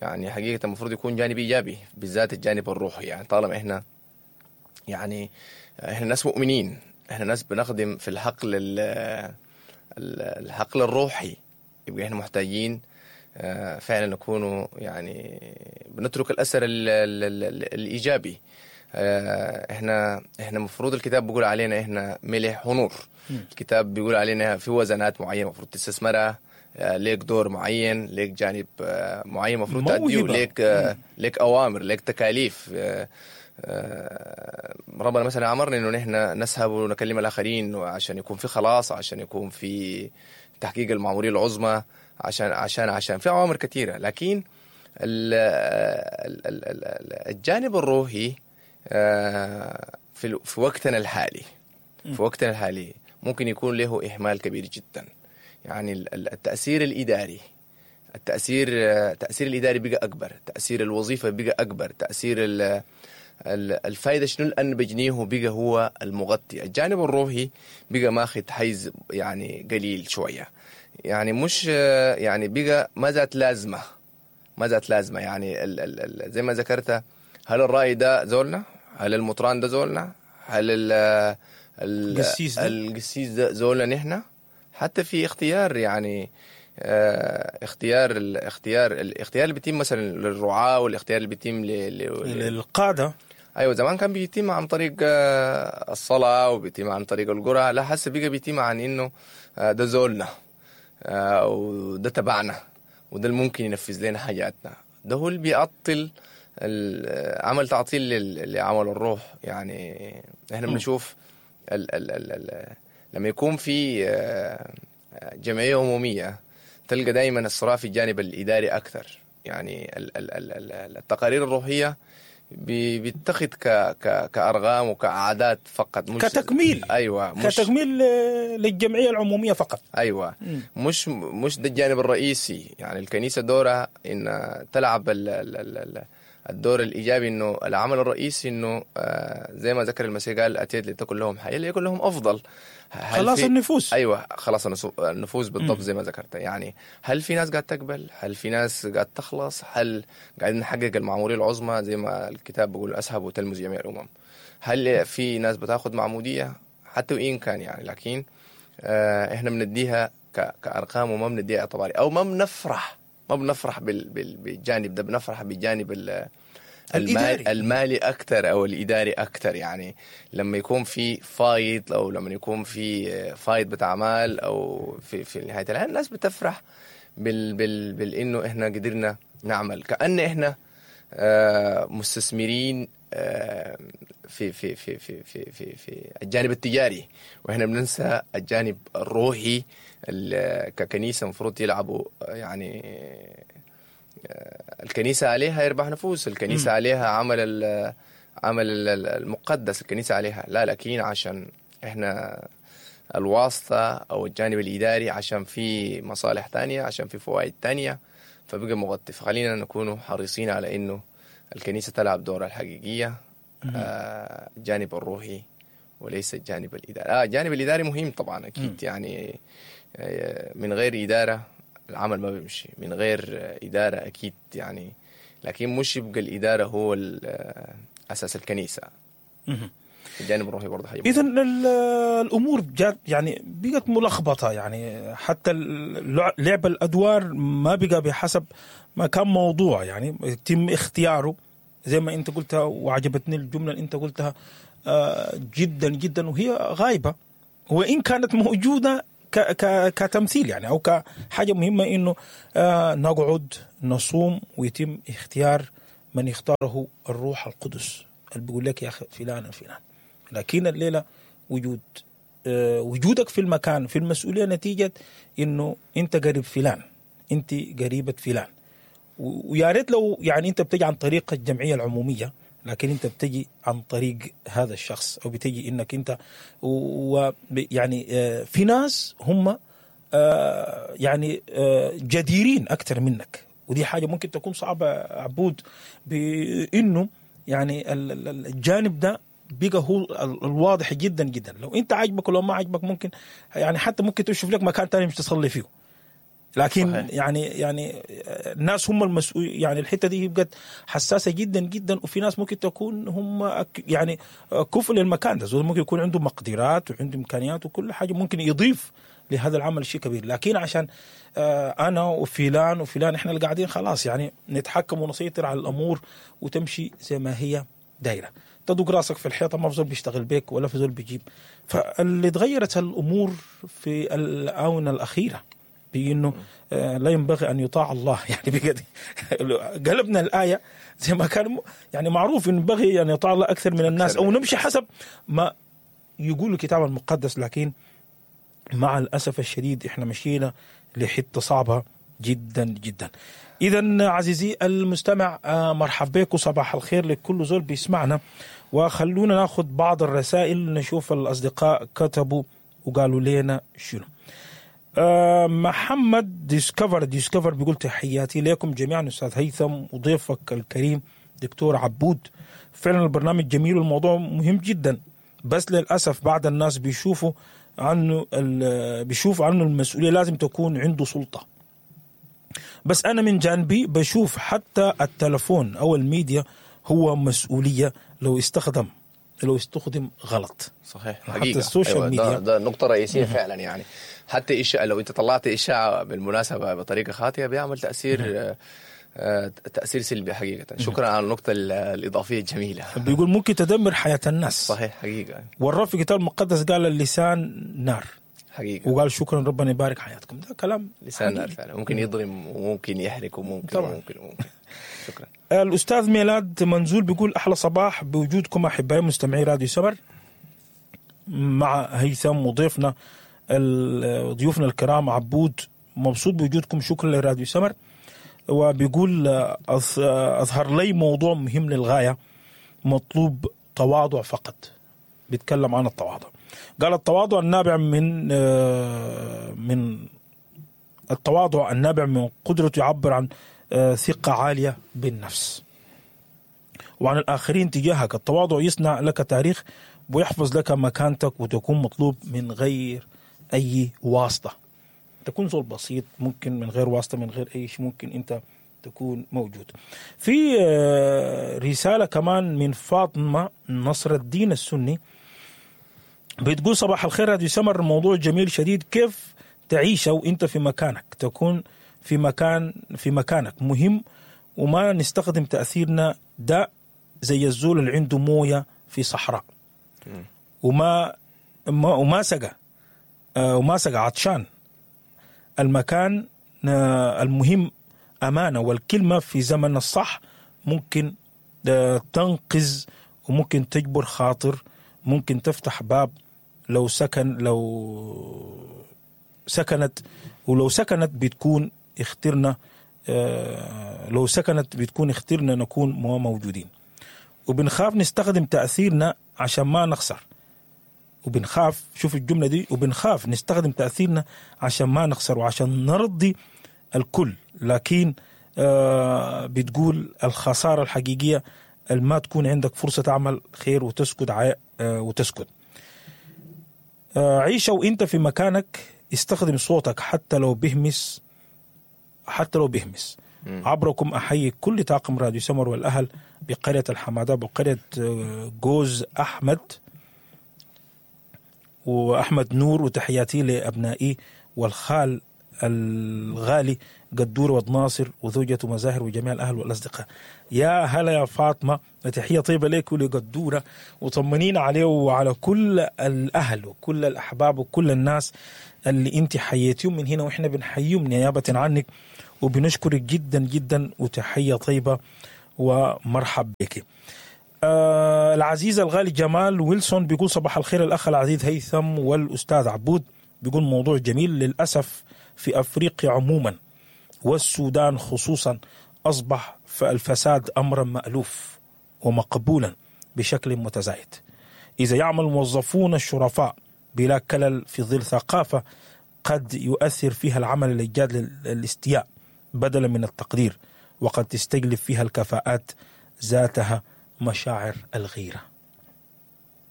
يعني حقيقة المفروض يكون جانب ايجابي، بالذات الجانب الروحي. يعني طالما احنا يعني احنا ناس مؤمنين، احنا ناس بنخدم في الحقل الحقل الروحي، يبقى احنا محتاجين فعلا نكون يعني بنترك الاثر الايجابي. احنا المفروض الكتاب بيقول علينا احنا ملح ونور. الكتاب بيقول علينا في وزنات معينة المفروض تستثمرها، ليك دور معين، ليك جانب معين المفروض تأدية، ليك اوامر، ليك تكاليف. ربنا مثلا امرنا انه نحن نسهب ونكلم الاخرين عشان يكون في خلاص، عشان يكون في تحقيق المعموريه العظمى، عشان عشان عشان في اوامر كثيرة. لكن الجانب الروحي في وقتنا الحالي، في وقتنا الحالي ممكن يكون له اهمال كبير جدا. يعني التاثير الاداري، التاثير الاداري بقى اكبر، تاثير الوظيفة بقى اكبر، تاثير الفائدة شنو الان بجنيه بقى هو المغطي. الجانب الروحي بقى ماخذ حيز يعني قليل شوية، يعني مش يعني بقى ما ذات لازمه، ما ذات لازمه. يعني ال زي ما ذكرت، هل الرأي ده زولنا؟ هل المطران ده زولنا؟ هل القسيس ده زولنا نحن؟ حتى في اختيار يعني اختيار الاختيار اللي بيتم مثلا للرعاة، والاختيار اللي بيتم للقادة. ايوه زمان كان بيتم عن طريق الصلاة وبيتم عن طريق القرعة، لا حسب بقى بيتم عن انه ده زولنا وده تبعنا وده الممكن ينفذ لنا حاجاتنا. ده هو اللي بيعطل عمل تعطيل لعمل الروح. يعني احنا بنشوف ال ال ال ال لما يكون في جمعية عمومية تلقى دائما الصراع في الجانب الإداري أكثر. يعني التقارير الروحية بيتخذ كأرقام وكأعداد فقط، مش كتكميل. أيوة، مش كتكميل للجمعية العمومية فقط. أيوة، مش ده الجانب الرئيسي. يعني الكنيسة دورها إن تلعب الدور الإيجابي، إنه العمل الرئيسي إنه زي ما ذكر المسيح قال أتيت لتكن لهم حياة ليكن لهم أفضل. خلاص النفوس. أيوة، خلاص النفوس بالضبط زي ما ذكرت. يعني هل في ناس قاعد تقبل؟ هل في ناس قاعد تخلص؟ هل قاعدين نحقق المعمورية العظمى زي ما الكتاب بيقول أسهب وتلمذ جميع الأمم؟ هل في ناس بتاخد معمودية حتى وإن كان يعني؟ لكن إحنا بنديها كأرقام وما بنديها اعتباري، أو ما بنفرح بالجانب ده، بنفرح بالجانب المالي أكثر أو الإداري أكثر. يعني لما يكون في فايض، أو لما يكون في فايض بتاع مال، أو في نهاية العام الناس بتفرح بالإنه إحنا قدرنا نعمل، كأن إحنا مستثمرين في في في في في في في الجانب التجاري، واحنا بننسى الجانب الروحي ككنيسة المفروض يلعبوا. يعني الكنيسة عليها يربح نفوس، الكنيسة عليها عمل المقدس، الكنيسة عليها لا، لكن عشان احنا الواسطة او الجانب الاداري، عشان في مصالح تانية، عشان في فوائد تانية، فبقى مغطي. فخلينا نكون حريصين على انه الكنيسة تلعب دورها الحقيقية، الجانب الروحي وليس الجانب الإداري. الجانب الإداري مهم طبعا أكيد. يعني من غير إدارة العمل ما بيمشي، من غير إدارة أكيد يعني، لكن مش يبقى الإدارة هو أساس الكنيسة. الجانب الروحي برضه حاجة. إذا الأمور جات يعني بقت ملخبطة، يعني حتى لعب الأدوار ما بقى بحسب ما كان موضوع، يعني يتم اختياره زي ما أنت قلتها، وعجبتني الجملة اللي أنت قلتها جدا جدا، وهي غايبة وان كانت موجودة ك ك كتمثيل يعني او كحاجة مهمة، انه نقعد نصوم ويتم اختيار من يختاره الروح القدس اللي بيقول لك يا اخي فلان الفلان. لكن الليلة وجود وجودك في المكان في المسؤولية نتيجة انه انت قريب فلان، انت قريبه فلان، ويا ريت لو يعني انت بتجي عن طريق الجمعية العمومية، لكن انت بتجي عن طريق هذا الشخص، او بتجي انك انت يعني في ناس هم يعني جديرين اكثر منك، ودي حاجة ممكن تكون صعبة عبود، بانه يعني الجانب ده بقى هو الواضح جدا جدا. لو انت عاجبك ولو ما عاجبك ممكن يعني حتى ممكن تشوف لك مكان تاني مش تصلي فيه، لكن صحيح. يعني الناس هم المسؤول، يعني الحتة دي بقت حساسة جدا جدا، وفي ناس ممكن تكون هم يعني كفء للمكان ده، ممكن يكون عنده مقدرات وعنده امكانيات وكل حاجة، ممكن يضيف لهذا العمل شيء كبير، لكن عشان انا وفلان وفلان احنا اللي قاعدين خلاص يعني نتحكم ونسيطر على الامور وتمشي زي ما هي دايرة، تدق راسك في الحيطة ما في زول بيشتغل بيك ولا في زول بيجيب. فاللي تغيرت الامور في الاونة الاخيرة بانه لا ينبغي ان يطاع الله، يعني بجد قلبنا الايه زي ما كان يعني معروف انه ينبغي ان يطاع الله اكثر من الناس، او نمشي حسب ما يقول الكتاب المقدس، لكن مع الاسف الشديد احنا مشينا لحته صعبة جدا جدا. اذا عزيزي المستمع مرحب بك وصباح الخير لكل زول بيسمعنا، وخلونا ناخذ بعض الرسائل نشوف الاصدقاء كتبوا وقالوا لنا شنو. محمد ديسكفر بيقول تحياتي لكم جميعا استاذ هيثم وضيفك الكريم دكتور عبود، فعلا البرنامج جميل والموضوع مهم جدا، بس للاسف بعض الناس بيشوفوا عنه المسؤولية لازم تكون عنده سلطة. بس انا من جانبي بشوف حتى التلفون او الميديا هو مسؤولية لو استخدم غلط. صحيح، حقيقة. حتى ال social media ده نقطة رئيسية فعلا، يعني حتى إشاعة، لو أنت طلعت إشاعة بالمناسبة بطريقة خاطئة بيعمل تأثير تأثير سلبي حقيقة. شكرا على النقطة الإضافية الجميلة. بيقول ممكن تدمر حياة الناس. صحيح، حقيقة. والرب في الكتاب المقدس قال اللسان نار. حقيقة. وقال شكرا ربنا يبارك حياتكم. ده كلام لسان نار فعلا، ممكن يضرم وممكن يحرق وممكن طبعا. وممكن. شكرا. الأستاذ ميلاد منزول بيقول أحلى صباح بوجودكم أحبائي مستمعي راديو سمر مع هيثم وضيفنا ضيوفنا الكرام عبود، مبسوط بوجودكم، شكرا لراديو سمر. وبيقول أظهر لي موضوع مهم للغاية، مطلوب تواضع فقط. بيتكلم عن التواضع، قال التواضع النابع من التواضع النابع من قدرته يعبر عن ثقة عالية بالنفس وعن الآخرين تجاهك. التواضع يصنع لك تاريخ ويحفظ لك مكانتك وتكون مطلوب من غير أي واسطة. تكون زول بسيط، ممكن من غير واسطة، من غير أي شيء ممكن أنت تكون موجود. في رسالة كمان من فاطمة نصر الدين السني بتقول صباح الخير راديو سمر، الموضوع جميل شديد، كيف تعيش وانت في مكانك، تكون في مكانك مهم، وما نستخدم تأثيرنا ده زي الزول اللي عنده موية في صحراء وما سقى وما سقى عطشان. المكان المهم أمانة، والكلمة في زمن الصح ممكن تنقذ وممكن تجبر خاطر، ممكن تفتح باب لو سكنت، ولو سكنت بتكون اخترنا، لو سكنت بتكون اخترنا نكون موجودين. وبنخاف نستخدم تأثيرنا عشان ما نخسر، وبنخاف، شوف الجملة دي، وبنخاف نستخدم تأثيرنا عشان ما نخسر وعشان نرضي الكل. لكن بتقول الخسارة الحقيقية ما تكون عندك فرصة تعمل خير وتسكت وتسكت. عيش وانت في مكانك، استخدم صوتك حتى لو بهمس، حتى لو بهمس. عبركم أحيي كل طاقم راديو سمر والأهل بقرية الحمادة بقرية جوز أحمد وأحمد نور، وتحياتي لأبنائي والخال الغالي قدور ود ناصر وزوجته مزاهر وجميع الاهل والاصدقاء. يا هلا يا فاطمة، تحية طيبة لك ولقدوره، وطمنينا عليه وعلى كل الاهل وكل الاحباب وكل الناس اللي انت حييتيهم من هنا، واحنا بنحييهم نيابة عنك وبنشكرك جدا جدا، وتحية طيبة ومرحب بك. العزيز الغالي جمال ويلسون بيقول صباح الخير الاخ العزيز هيثم والاستاذ عبود، بيقول موضوع جميل. للاسف في افريقيا عموما والسودان خصوصا اصبح الفساد امرا مالوف ومقبولا بشكل متزايد، اذا يعمل الموظفون الشرفاء بلا كلل في ظل ثقافة قد يؤثر فيها العمل الجاد للاستياء بدلا من التقدير، وقد تستجلب فيها الكفاءات ذاتها مشاعر الغيرة.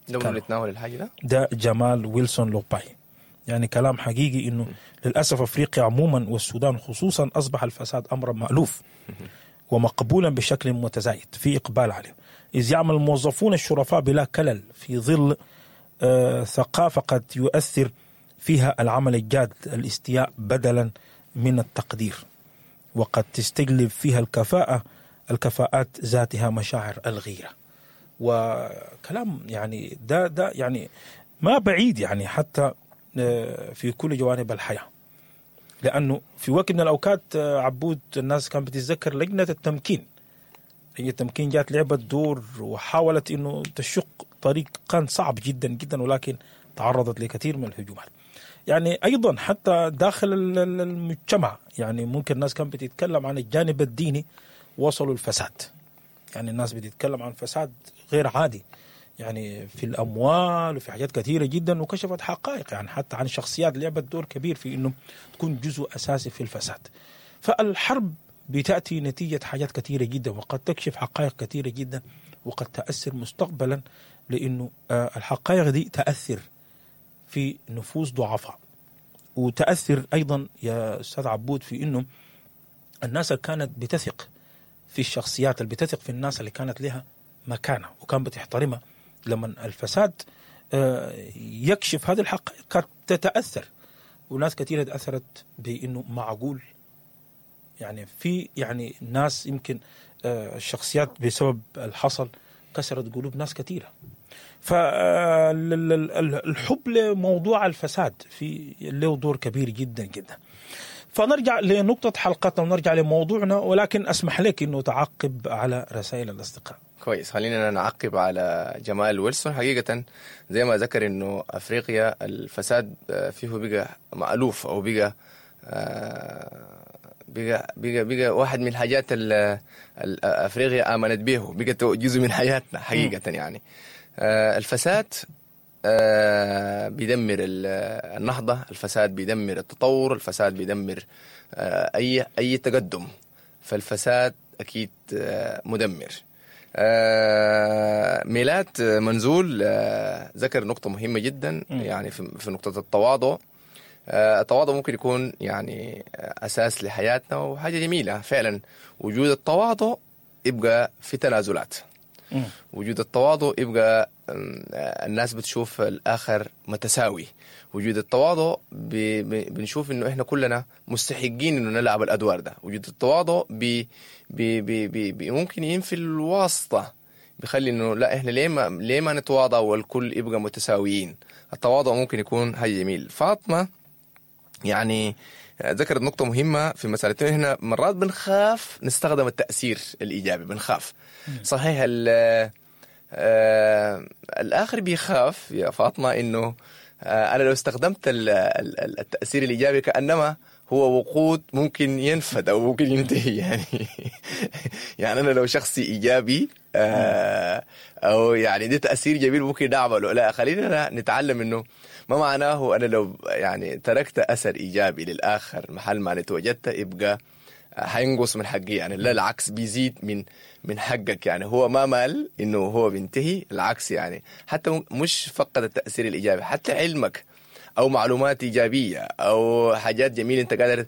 لو نتناول الحاجة ده ده جمال ويلسون لوباي، يعني كلام حقيقي انه للاسف افريقيا عموما والسودان خصوصا اصبح الفساد امرا مالوف ومقبولا بشكل متزايد، في اقبال عليه، اذ يعمل الموظفون الشرفاء بلا كلل في ظل ثقافة قد يؤثر فيها العمل الجاد الاستياء بدلا من التقدير، وقد تستجلب فيها الكفاءات ذاتها مشاعر الغيرة. وكلام يعني ده يعني ما بعيد يعني حتى في كل جوانب الحياة، لأنه في وقت من الأوقات عبود الناس كانت بتتذكر لجنة التمكين. لجنة التمكين جات لعبت دور وحاولت إنه تشق طريق كان صعب جدا جدا، ولكن تعرضت لكثير من الهجومات. يعني أيضا حتى داخل المجتمع يعني ممكن الناس كانت بتتكلم عن الجانب الديني، وصلوا الفساد. يعني الناس بتتكلم عن فساد غير عادي يعني في الأموال وفي حاجات كثيرة جدا، وكشفت حقائق يعني حتى عن شخصيات لعبت دور كبير في إنه تكون جزء أساسي في الفساد. فالحرب بتأتي نتيجة حاجات كثيرة جدا، وقد تكشف حقائق كثيرة جدا، وقد تأثر مستقبلا، لأنه الحقائق دي تأثر في نفوس ضعفاء، وتأثر أيضا يا أستاذ عبود في إنه الناس اللي كانت بتثق في الشخصيات، اللي بتثق في الناس اللي كانت لها مكانة وكان بتحترمها، لما الفساد يكشف هذه الحقائق قد تتأثر. وناس كثيرة تأثرت بأنه معقول يعني في يعني ناس يمكن الشخصيات بسبب الحصل كسرت قلوب ناس كثيرة. فالحب لموضوع الفساد في له دور كبير جدا جدا. فنرجع لنقطة حلقتنا ونرجع لموضوعنا، ولكن أسمح لك أنه تعقب على رسائل الأصدقاء. كويس، خلينا نعقب على جمال ويلسون. حقيقة زي ما ذكر أنه أفريقيا الفساد فيه بقى مألوف، أو بقى بقى بقى بقى واحد من الحاجات أفريقيا آمنت به، بقت جزء من حياتنا حقيقة. يعني الفساد بيدمر النهضة، الفساد بيدمر التطور، الفساد بيدمر أي تقدم، فالفساد أكيد مدمر. ميلاد منزول ذكر نقطة مهمة جدا يعني في نقطة التواضع. التواضع ممكن يكون يعني أساس لحياتنا وحاجة جميلة فعلا. وجود التواضع يبقى في تنازلات، وجود التواضع يبقى الناس بتشوف الآخر متساوي، وجود التواضع بنشوف إنه إحنا كلنا مستحقين إنه نلعب الأدوار ده. وجود التواضع بي بي بي بي بي ممكن ينفي الواسطة، بيخلي إنه لا إحنا ليه ما نتواضع والكل يبقى متساويين. التواضع ممكن يكون حاجة جميل. فاطمة يعني ذكرت نقطة مهمة في مسألة إحنا مرات بنخاف نستخدم التأثير الإيجابي، بنخاف. صحيح الآخر بيخاف يا فاطمة إنه أنا لو استخدمت التأثير الإيجابي كأنما هو وقود ممكن ينفد أو ممكن ينتهي. يعني يعني أنا لو شخصي إيجابي أو يعني ده تأثير جميل ممكن نعمله، لا خلينا نتعلم إنه ما معناه أنا لو يعني تركت أثر إيجابي للآخر محل ما نتوجدت يبقى حينقص من حقي، يعني لا العكس بيزيد من حقك. يعني هو ما مال إنه هو بينتهي، العكس يعني حتى مش فقد التأثير الإيجابي، حتى علمك أو معلومات إيجابية أو حاجات جميلة أنت قادر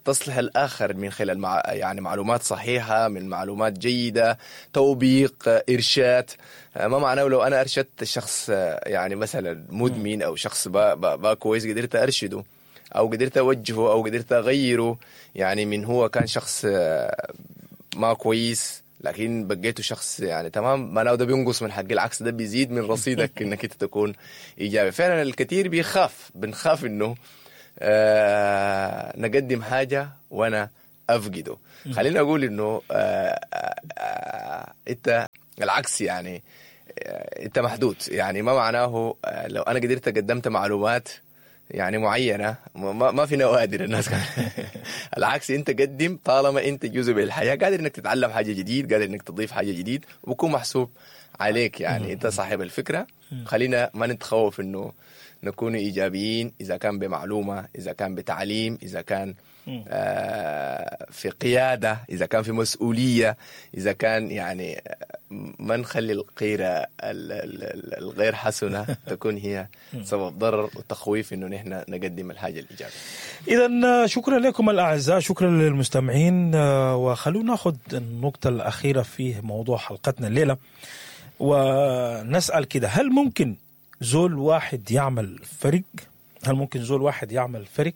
تصلح الآخر من خلال يعني معلومات صحيحة، من معلومات جيدة، توبيق، إرشاد. ما معناه لو أنا أرشدت شخص يعني مثلا مدمن أو شخص با كويس قدرت أرشده، او قدرت اوجهه او قدرت اغيره، يعني من هو كان شخص ما كويس لكن بقيته شخص يعني تمام، معناه ده بينقص من حقي، العكس ده بيزيد من رصيدك انك انت تكون ايجابي. فعلا الكثير بيخاف، بنخاف انه نقدم حاجة وانا افقده. خليني اقول انه انت العكس، يعني انت محدود، يعني ما معناه لو انا قدرت قدمت معلومات يعني معينة ما في نوادر الناس العكس انت قدم، طالما انت جزء من الحياة قادر انك تتعلم حاجة جديد، قادر انك تضيف حاجة جديد، وبكون محسوب عليك، يعني انت صاحب الفكرة. خلينا ما نتخوف انه نكون ايجابيين، اذا كان بمعلومة، اذا كان بتعليم، اذا كان في قيادة، اذا كان في مسؤولية، اذا كان يعني ما نخلي القيره الغير حسنه تكون هي سبب ضرر وتخويف انه نحن نقدم الحاجة الايجابية. اذا شكرا لكم الاعزاء، شكرا للمستمعين، وخلونا ناخذ النقطة الاخيرة في موضوع حلقتنا الليلة ونسال كده: هل ممكن زول واحد يعمل فرق؟ هل ممكن زول واحد يعمل فرق؟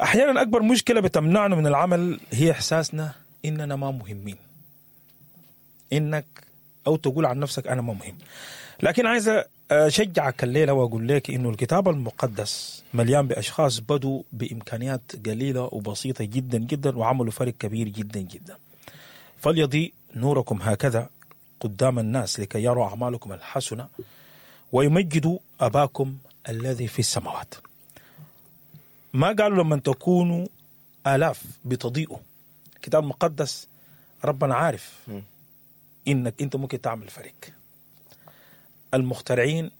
احيانا اكبر مشكلة بتمنعنا من العمل هي احساسنا اننا ما مهمين، انك او تقول عن نفسك انا ما مهم. لكن عايز اشجعك الليلة واقول لك انه الكتاب المقدس مليان باشخاص بدوا بامكانيات قليله وبسيطة جدا جدا وعملوا فرق كبير جدا جدا. فليضيء نوركم هكذا قدام الناس لكي يروا اعمالكم الحسنة ويمجدوا اباكم الذي في السماوات. ما قالوا لما تكونوا آلاف بتضيئوا. الكتاب المقدس ربنا عارف إنك أنت ممكن تعمل فريق. المخترعين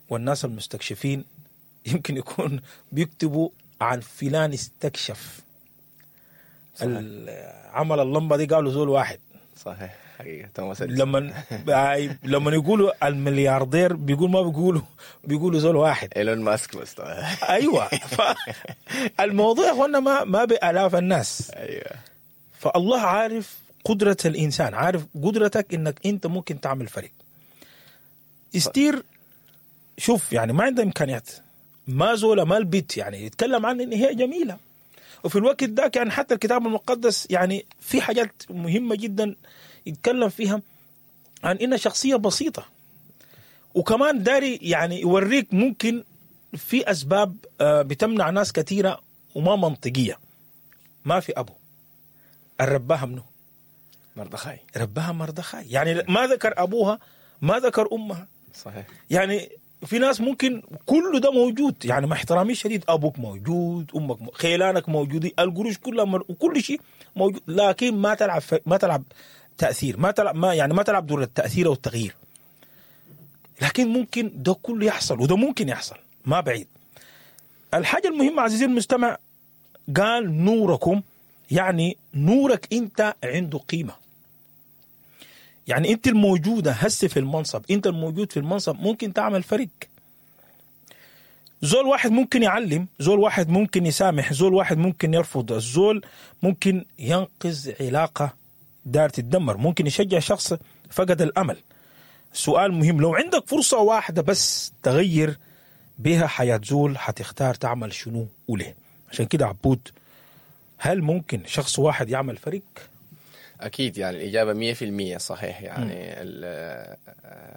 والناس المستكشفين يمكن يكون بيكتبوا عن فلان استكشف، عمل اللمبة دي قالوا زول واحد. صحيح، حقيقة توماس. لما يقولوا الملياردير بيقول ما بيقولوا، بيقولوا زول واحد، ايلون ماسك بس. ايوه، الموضوع يا اخوانا ما بالاف الناس. ايوه، فالله عارف قدرة الانسان، عارف قدرتك انك انت ممكن تعمل فريق. استير شوف يعني ما عنده امكانيات، ما زوله ما البيت، يعني يتكلم عن ان هي جميلة، وفي الوقت ده يعني حتى الكتاب المقدس يعني في حاجات مهمة جدا يتكلم فيها عن إنها شخصية بسيطة، وكمان داري يعني يوريك ممكن في أسباب بتمنع ناس كثيرة وما منطقية. ما في أبو الرباها منه مردخاي، رباها مردخاي، يعني ما ذكر أبوها، ما ذكر أمها. صحيح، يعني في ناس ممكن كل ده موجود، يعني مع احترامي الشديد أبوك موجود، أمك خيلانك موجودين، القروش كلها وكل شيء موجود، لكن ما تلعب ما تلعب تأثير، ما تلعب ما يعني ما تلعب دور التأثير والتغيير. لكن ممكن ده كله يحصل، وده ممكن يحصل ما بعيد. الحاجة المهمة عزيزي المستمع، قال نوركم، يعني نورك أنت عنده قيمة. يعني أنت الموجودة هسه في المنصب، أنت الموجود في المنصب ممكن تعمل فرق. زول واحد ممكن يعلم، زول واحد ممكن يسامح، زول واحد ممكن يرفض، الزول ممكن ينقذ علاقة دار تتدمر، ممكن يشجع شخص فقد الأمل. سؤال مهم، لو عندك فرصة واحدة بس تغير بها حياة زول، حتختار تعمل شنو وليه؟ عشان كده عبود، هل ممكن شخص واحد يعمل فريق؟ أكيد، يعني الإجابة 100% صحيح. يعني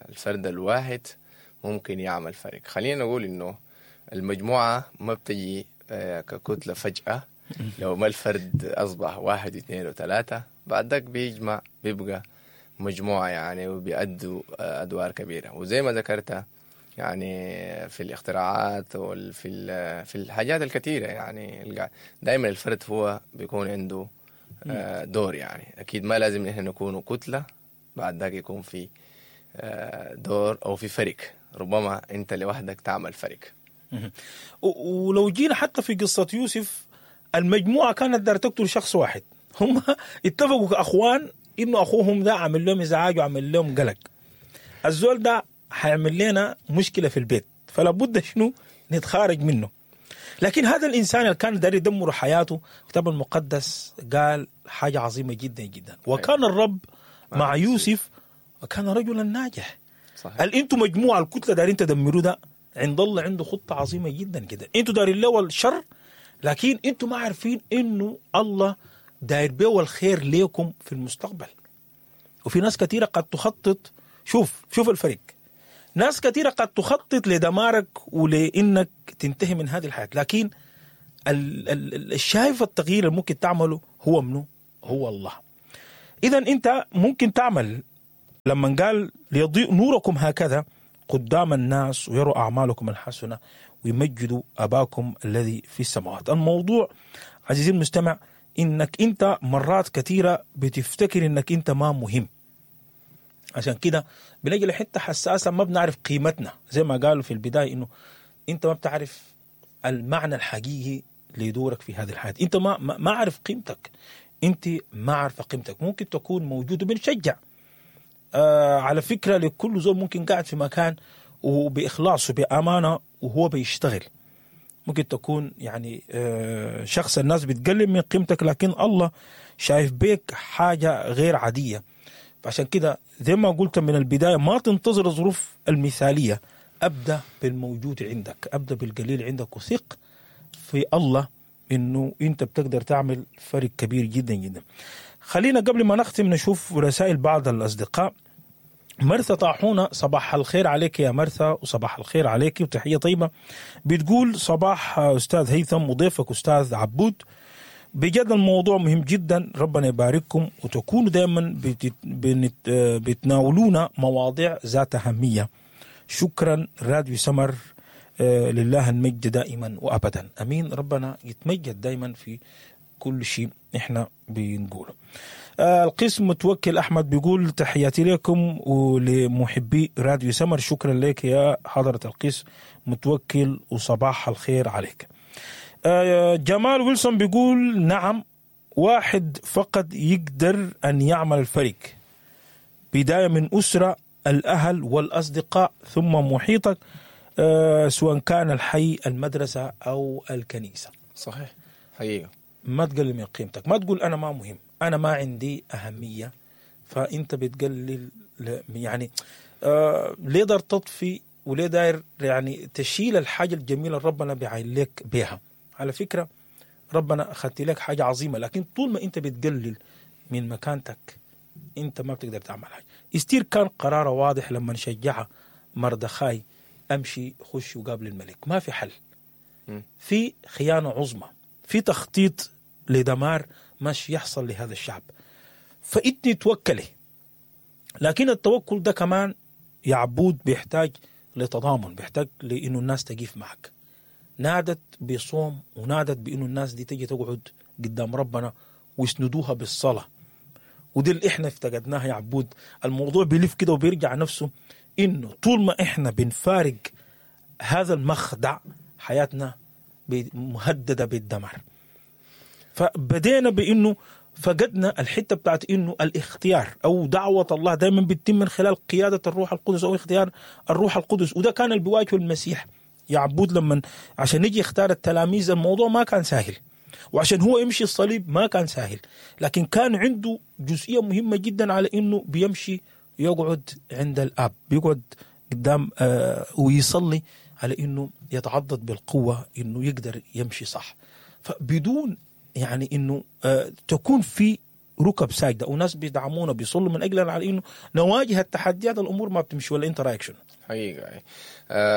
الفرد الواحد ممكن يعمل فريق. خلينا نقول إنه المجموعة ما بتجي ككتلة فجأة. لو ما الفرد أصبح 1 2 و3 بعد ذاك بيجمع بيبقى مجموعة يعني، وبيأدوا أدوار كبيرة. وزي ما ذكرت يعني في الاختراعات وفي في الحاجات الكثيرة، يعني دائما الفرد هو بيكون عنده دور. يعني أكيد ما لازم نحن نكون كتلة بعد ذاك يكون في دور أو في فريق، ربما أنت لوحدك تعمل فريق. ولو جينا حتى في قصة يوسف، المجموعة كانت دار تقتل شخص واحد، هم اتفقوا كأخوان إنه أخوهم ده عمل لهم إزعاج وعمل لهم قلق، الزول ده حيعمل لنا مشكلة في البيت، فلا بد شنو نتخارج منه. لكن هذا الإنسان اللي كان داري يدمر حياته، الكتاب المقدس قال حاجة عظيمة جدا جدا، وكان الرب مع يوسف وكان رجلا ناجح. صحيح. قال انتم مجموعة الكتلة دارين تدمروا ده، عند الله عنده خطه عظيمة جدا جدا. انتوا دايرين له الشر، لكن انتوا ما عارفين انه الله داير بيه الخير ليكم في المستقبل. وفي ناس كثيرة قد تخطط، شوف الفرق، ناس كثيرة قد تخطط لدمارك ولانك تنتهي من هذه الحياة، لكن الشايف التغيير اللي ممكن تعمله هو منه؟ هو الله. اذا انت ممكن تعمل لما قال ليضيء نوركم هكذا قدام الناس ويروا أعمالكم الحسنة ويمجدوا أباكم الذي في السماوات. الموضوع عزيزي المستمع إنك أنت مرات كثيرة بتفتكر إنك أنت ما مهم، عشان كده بنجي لحتة حساسة ما بنعرف قيمتنا، زي ما قالوا في البداية إنه أنت ما بتعرف المعنى الحقيقي لدورك في هذه الحياة، أنت ما عارف قيمتك، أنت ما عارفة قيمتك. ممكن تكون موجود وبنشجع على فكرة لكل زول ممكن قاعد في مكان وبإخلاص وبأمانة وهو بيشتغل، ممكن تكون يعني شخص الناس بتقلل من قيمتك، لكن الله شايف بيك حاجة غير عادية. فعشان كده زي ما قلت من البداية ما تنتظر الظروف المثالية، أبدأ بالموجود عندك، أبدأ بالقليل عندك، وثق في الله إنه أنت بتقدر تعمل فرق كبير جدا جدا. خلينا قبل ما نختم نشوف رسائل بعض الأصدقاء. مرثا طاحونة، صباح الخير عليك يا مرثا، وصباح الخير عليك وتحية طيبة. بتقول صباح أستاذ هيثم وضيفك أستاذ عبود، بجد الموضوع مهم جدا، ربنا يبارككم وتكونوا دائما بتناولونا مواضيع ذات أهمية. شكرا راديو سمر، لله المجد دائما وأبدا، أمين. ربنا يتمجد دائما في كل شيء احنا بنقوله. القسم متوكل أحمد بيقول تحياتي لكم ولمحبي راديو سمر، شكرا لك يا حضرة القس متوكل وصباح الخير عليك. جمال ويلسون بيقول نعم، واحد فقط يقدر أن يعمل الفريق، بداية من أسرة، الأهل والأصدقاء، ثم محيطك، سواء كان الحي، المدرسة أو الكنيسة. صحيح، حقيقة. ما تقلل من قيمتك، ما تقول أنا ما مهم، أنا ما عندي أهمية، فأنت بتقلل يعني ليه دار تطفي وليه داير يعني تشيل الحاجة الجميلة ربنا بيعين لك بيها. على فكرة ربنا أخذت لك حاجة عظيمة، لكن طول ما أنت بتقلل من مكانتك أنت ما بتقدر تعمل حاجة. استير كان قراره واضح لما نشجعها مردخاي، أمشي خش وقابل الملك، ما في حل، في خيانة عظمى، في تخطيط لدمار مش يحصل لهذا الشعب، فإنتي توكلي. لكن التوكل ده كمان يا عبود بيحتاج لتضامن، بيحتاج لأنه الناس تقيف معك. نادت بصوم ونادت بأنه الناس دي تجي تقعد قدام ربنا ويسندوها بالصلاة، ودي اللي احنا افتقدناها يا عبود. الموضوع بيلف كده وبيرجع نفسه، إنه طول ما احنا بنفارق هذا المخدع حياتنا مهددة بالدمار. فبدينا بأنه فقدنا الحتة بتاعت إنه الاختيار أو دعوة الله دايما بتتم من خلال قيادة الروح القدس أو اختيار الروح القدس، وده كان اللي بيواجهه المسيح يا عبود لما عشان يجي يختار التلاميذ. الموضوع ما كان سهل، وعشان هو يمشي الصليب ما كان سهل، لكن كان عنده جزئية مهمة جدا على إنه بيمشي يقعد عند الأب، بيقعد قدام ويصلي على إنه يتعضد بالقوة إنه يقدر يمشي صح. فبدون يعني إنه تكون في ركب ساجدة وناس بيدعمونا بيصلوا من أجلنا على إنه نواجه التحديات، الأمور ما بتمشي. ولا أنت رأيك شنو؟ حقيقة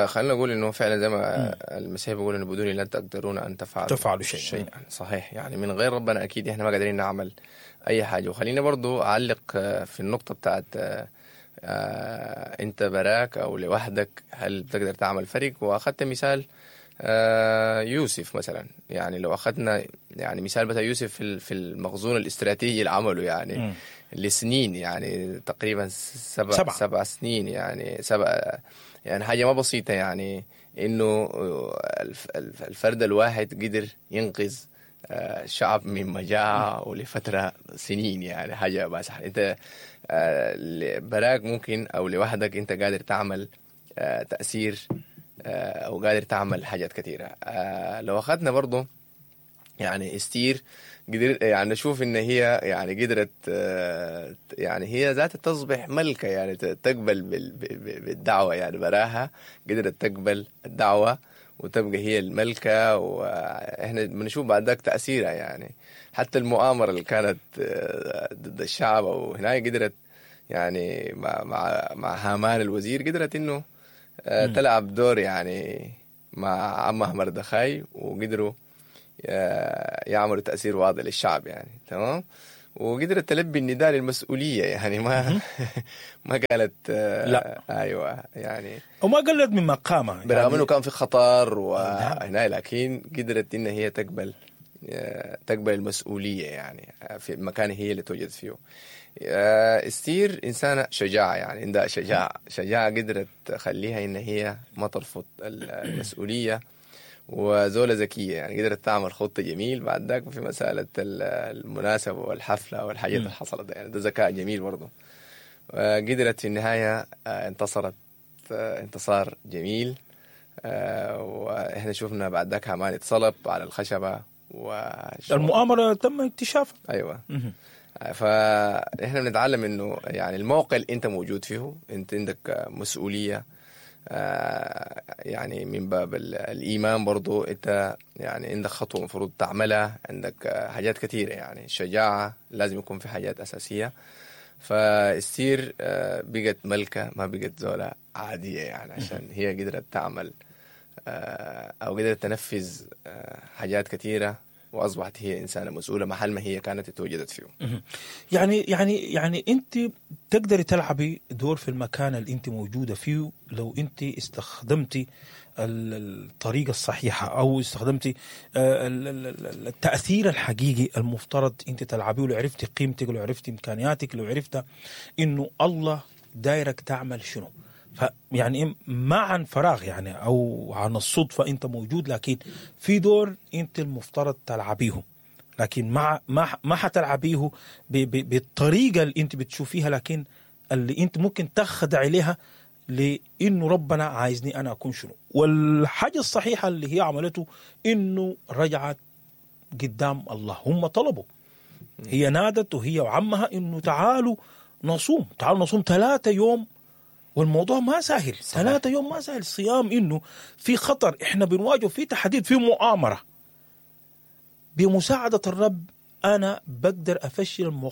خلينا نقول إنه فعلا زي ما المسيح بيقول إنه بدوني لا تقدرون أن تفعلوا شيئا. صحيح، يعني من غير ربنا أكيد إحنا ما قادرين نعمل أي حاجة. وخلينا برضو أعلق في النقطة بتاعت أنت براك أو لوحدك هل بتقدر تعمل فريق. وأخذت مثال يوسف مثلا، يعني لو أخذنا يعني مثال بتاع يوسف في المخزون الاستراتيجي اللي عمله يعني لسنين، يعني تقريبا سبع سنين، يعني يعني حاجة ما بسيطة، يعني إنه الفرد الواحد قدر ينقذ شعب من مجاعة ولفترة سنين، يعني حاجة ما سهلة. أنت براك ممكن أو لوحدك أنت قادر تعمل تأثير أو قادر تعمل حاجات كثيرة. لو أخذنا برضو يعني استير قدر يعني نشوف ان هي يعني قدرت يعني هي ذاتها تصبح ملكة، يعني تقبل بالدعوة، يعني براها قدرت تقبل الدعوة وتبقى هي الملكة. واحنا بنشوف بعد ذاك تأثيرها، يعني حتى المؤامرة اللي كانت ضد الشعب وهناك قدرت يعني مع هامان الوزير قدرت انه تلعب دور يعني مع عمها مردخاي، وقدروا يعملوا تأثير واضح للشعب يعني. تمام. وقدرت تلبي النداء للمسؤولية، يعني ما قالت لا. ايوه يعني، وما قلت من مقامها برغم يعني انه كان في خطر وهنا، لكن قدرت ان هي تقبل المسؤولية يعني في المكان هي اللي توجد فيه. استير إنسانة شجاعة، يعني عندها شجاعة قدرت تخليها إن هي ما ترفض المسؤولية، وزولة ذكية يعني قدرت تعمل خطة جميل بعد ذاك في مسألة المناسبة والحفلة والحاجات اللي حصلت، يعني ده ذكاء جميل برضه. قدرت في النهاية انتصرت انتصار جميل، وإحنا شفنا بعد ذاك هامان اتصلب على الخشبة المؤامرة تم اكتشافها. أيوة. فإحنا بنتعلم إنه يعني الموقع اللي أنت موجود فيه أنت عندك مسؤولية، يعني من باب الإيمان برضو أنت يعني عندك خطوة مفروض تعملها، عندك حاجات كثيرة، يعني الشجاعة لازم يكون في حاجات أساسية. فاستير بقت ملكة، ما بقت زولة عادية يعني، عشان هي قدرت تعمل أو قدرت تنفذ حاجات كثيرة، وأصبحت هي إنسانة مسؤولة محل ما هي كانت اتوجدت فيه. يعني يعني يعني أنت تقدري تلعبي دور في المكان اللي أنت موجودة فيه لو أنت استخدمتي الطريقة الصحيحة، أو استخدمتي التأثير الحقيقي المفترض أنت تلعبيه، لو عرفتي قيمتك، لو عرفتي إمكانياتك، لو عرفت إنه الله دايرك تعمل شنو. فيعني ما عن فراغ يعني أو عن الصدفة أنت موجود، لكن في دور أنت المفترض تلعبيه، لكن مع ما حتلعبيه بالطريقة اللي أنت بتشوفيها، لكن اللي أنت ممكن تخدع عليها لأنه ربنا عايزني أنا أكون شنو. والحاجة الصحيحة اللي هي عملته إنه رجعت قدام الله، هم طلبوا، هي نادت وهي وعمها إنه تعالوا نصوم، تعالوا نصوم 3 يوم، والموضوع ما سهل. 3 يوم ما سهل صيام، إنه في خطر إحنا بنواجهه، في تحديد، في مؤامرة. بمساعدة الرب أنا بقدر أفشل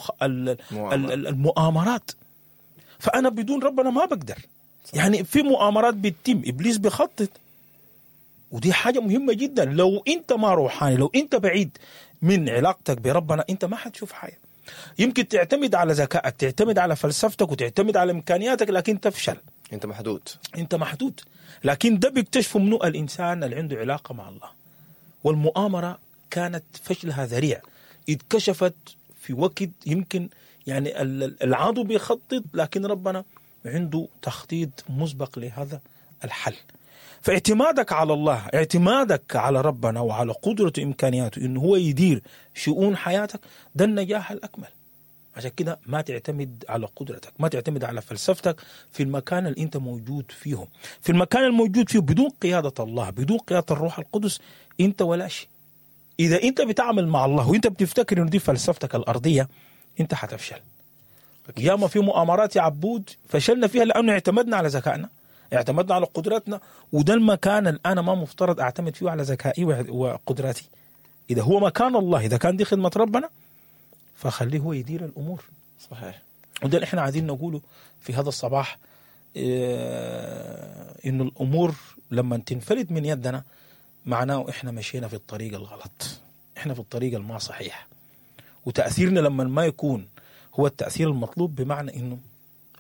المؤامرات، فأنا بدون ربنا ما بقدر. صحيح. يعني في مؤامرات بتتم، إبليس بيخطط، ودي حاجة مهمة جدا. لو أنت ما روحاني، لو أنت بعيد من علاقتك بربنا، أنت ما حتشوف حاجة. يمكن تعتمد على ذكائك، تعتمد على فلسفتك، وتعتمد على إمكانياتك، لكن تفشل. أنت محدود، أنت محدود. لكن ده بيكتشفه منه الإنسان اللي عنده علاقة مع الله. والمؤامرة كانت فشلها ذريع، اتكشفت في وقت يمكن يعني العدو بيخطط، لكن ربنا عنده تخطيط مسبق لهذا الحل. فاعتمادك على الله، اعتمادك على ربنا وعلى قدرته وإمكانياته إنه هو يدير شؤون حياتك، ده النجاح الأكمل. عشان كده ما تعتمد على قدرتك، ما تعتمد على فلسفتك في المكان اللي انت موجود فيه. في المكان الموجود فيه بدون قيادة الله، بدون قيادة الروح القدس، انت ولا شيء. إذا انت بتعمل مع الله وانت بتفتكر إنه دي فلسفتك الأرضية، انت حتفشل. ياما في مؤامرات يا عبود فشلنا فيها لأنه اعتمدنا على ذكائنا، اعتمدنا على قدرتنا، وده المكان اللي أنا ما مفترض أعتمد فيه على ذكائي وقدراتي. إذا هو مكان الله، إذا كان دي خدمة ربنا، فخليه هو يدير الأمور. صحيح. وده اللي إحنا عايزين نقوله في هذا الصباح، إنه الأمور لما تنفلت من يدنا معناه إحنا مشينا في الطريق الغلط، إحنا في الطريق الما صحيح، وتأثيرنا لما ما يكون هو التأثير المطلوب، بمعنى إنه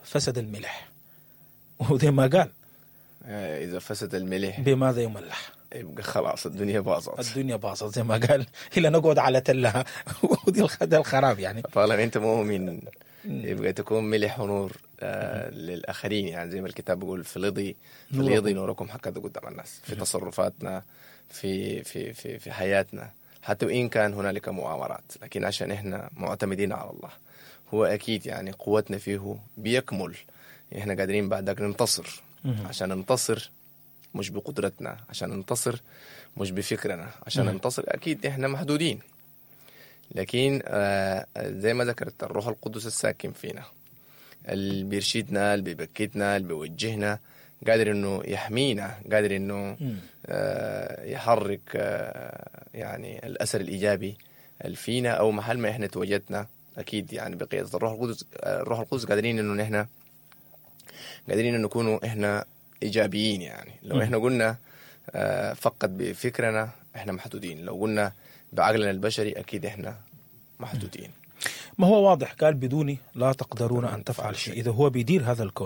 فسد الملح. وزي ما قال، إذا فسد الملح بماذا يملح؟ يبقى خلاص الدنيا باظت، الدنيا باظت زي ما قال، إلا نقعد على تلها. ودي الخراب يعني. طالما أنت مؤمن يبقى تكون ملح ونور للآخرين، يعني زي ما الكتاب بيقول فليضي نوركم هكذا قدام الناس، في تصرفاتنا، في في في في حياتنا، حتى وإن كان هنالك مؤامرات، لكن عشان إحنا معتمدين على الله، هو أكيد يعني قوتنا فيه بيكمل، إحنا قادرين بعدك ننتصر. عشان ننتصر مش بقدرتنا، عشان ننتصر مش بفكرنا، عشان ننتصر اكيد احنا محدودين، لكن زي ما ذكرت الروح القدس الساكن فينا، اللي بيرشدنا، اللي بيبكتنا، اللي بيوجهنا، قادر انه يحمينا، قادر انه يحرك يعني الاثر الايجابي اللي فينا او محل ما احنا تواجدنا. اكيد يعني بقيادة الروح القدس، الروح القدس قادرين انه نحن قادرين انه نكونوا احنا ايجابيين. يعني لو احنا قلنا فقط بفكرنا احنا محدودين، لو قلنا بعقلنا البشري اكيد احنا محدودين. ما هو واضح، قال بدوني لا تقدرون ان تفعل شيء. اذا هو بيدير هذا الكون.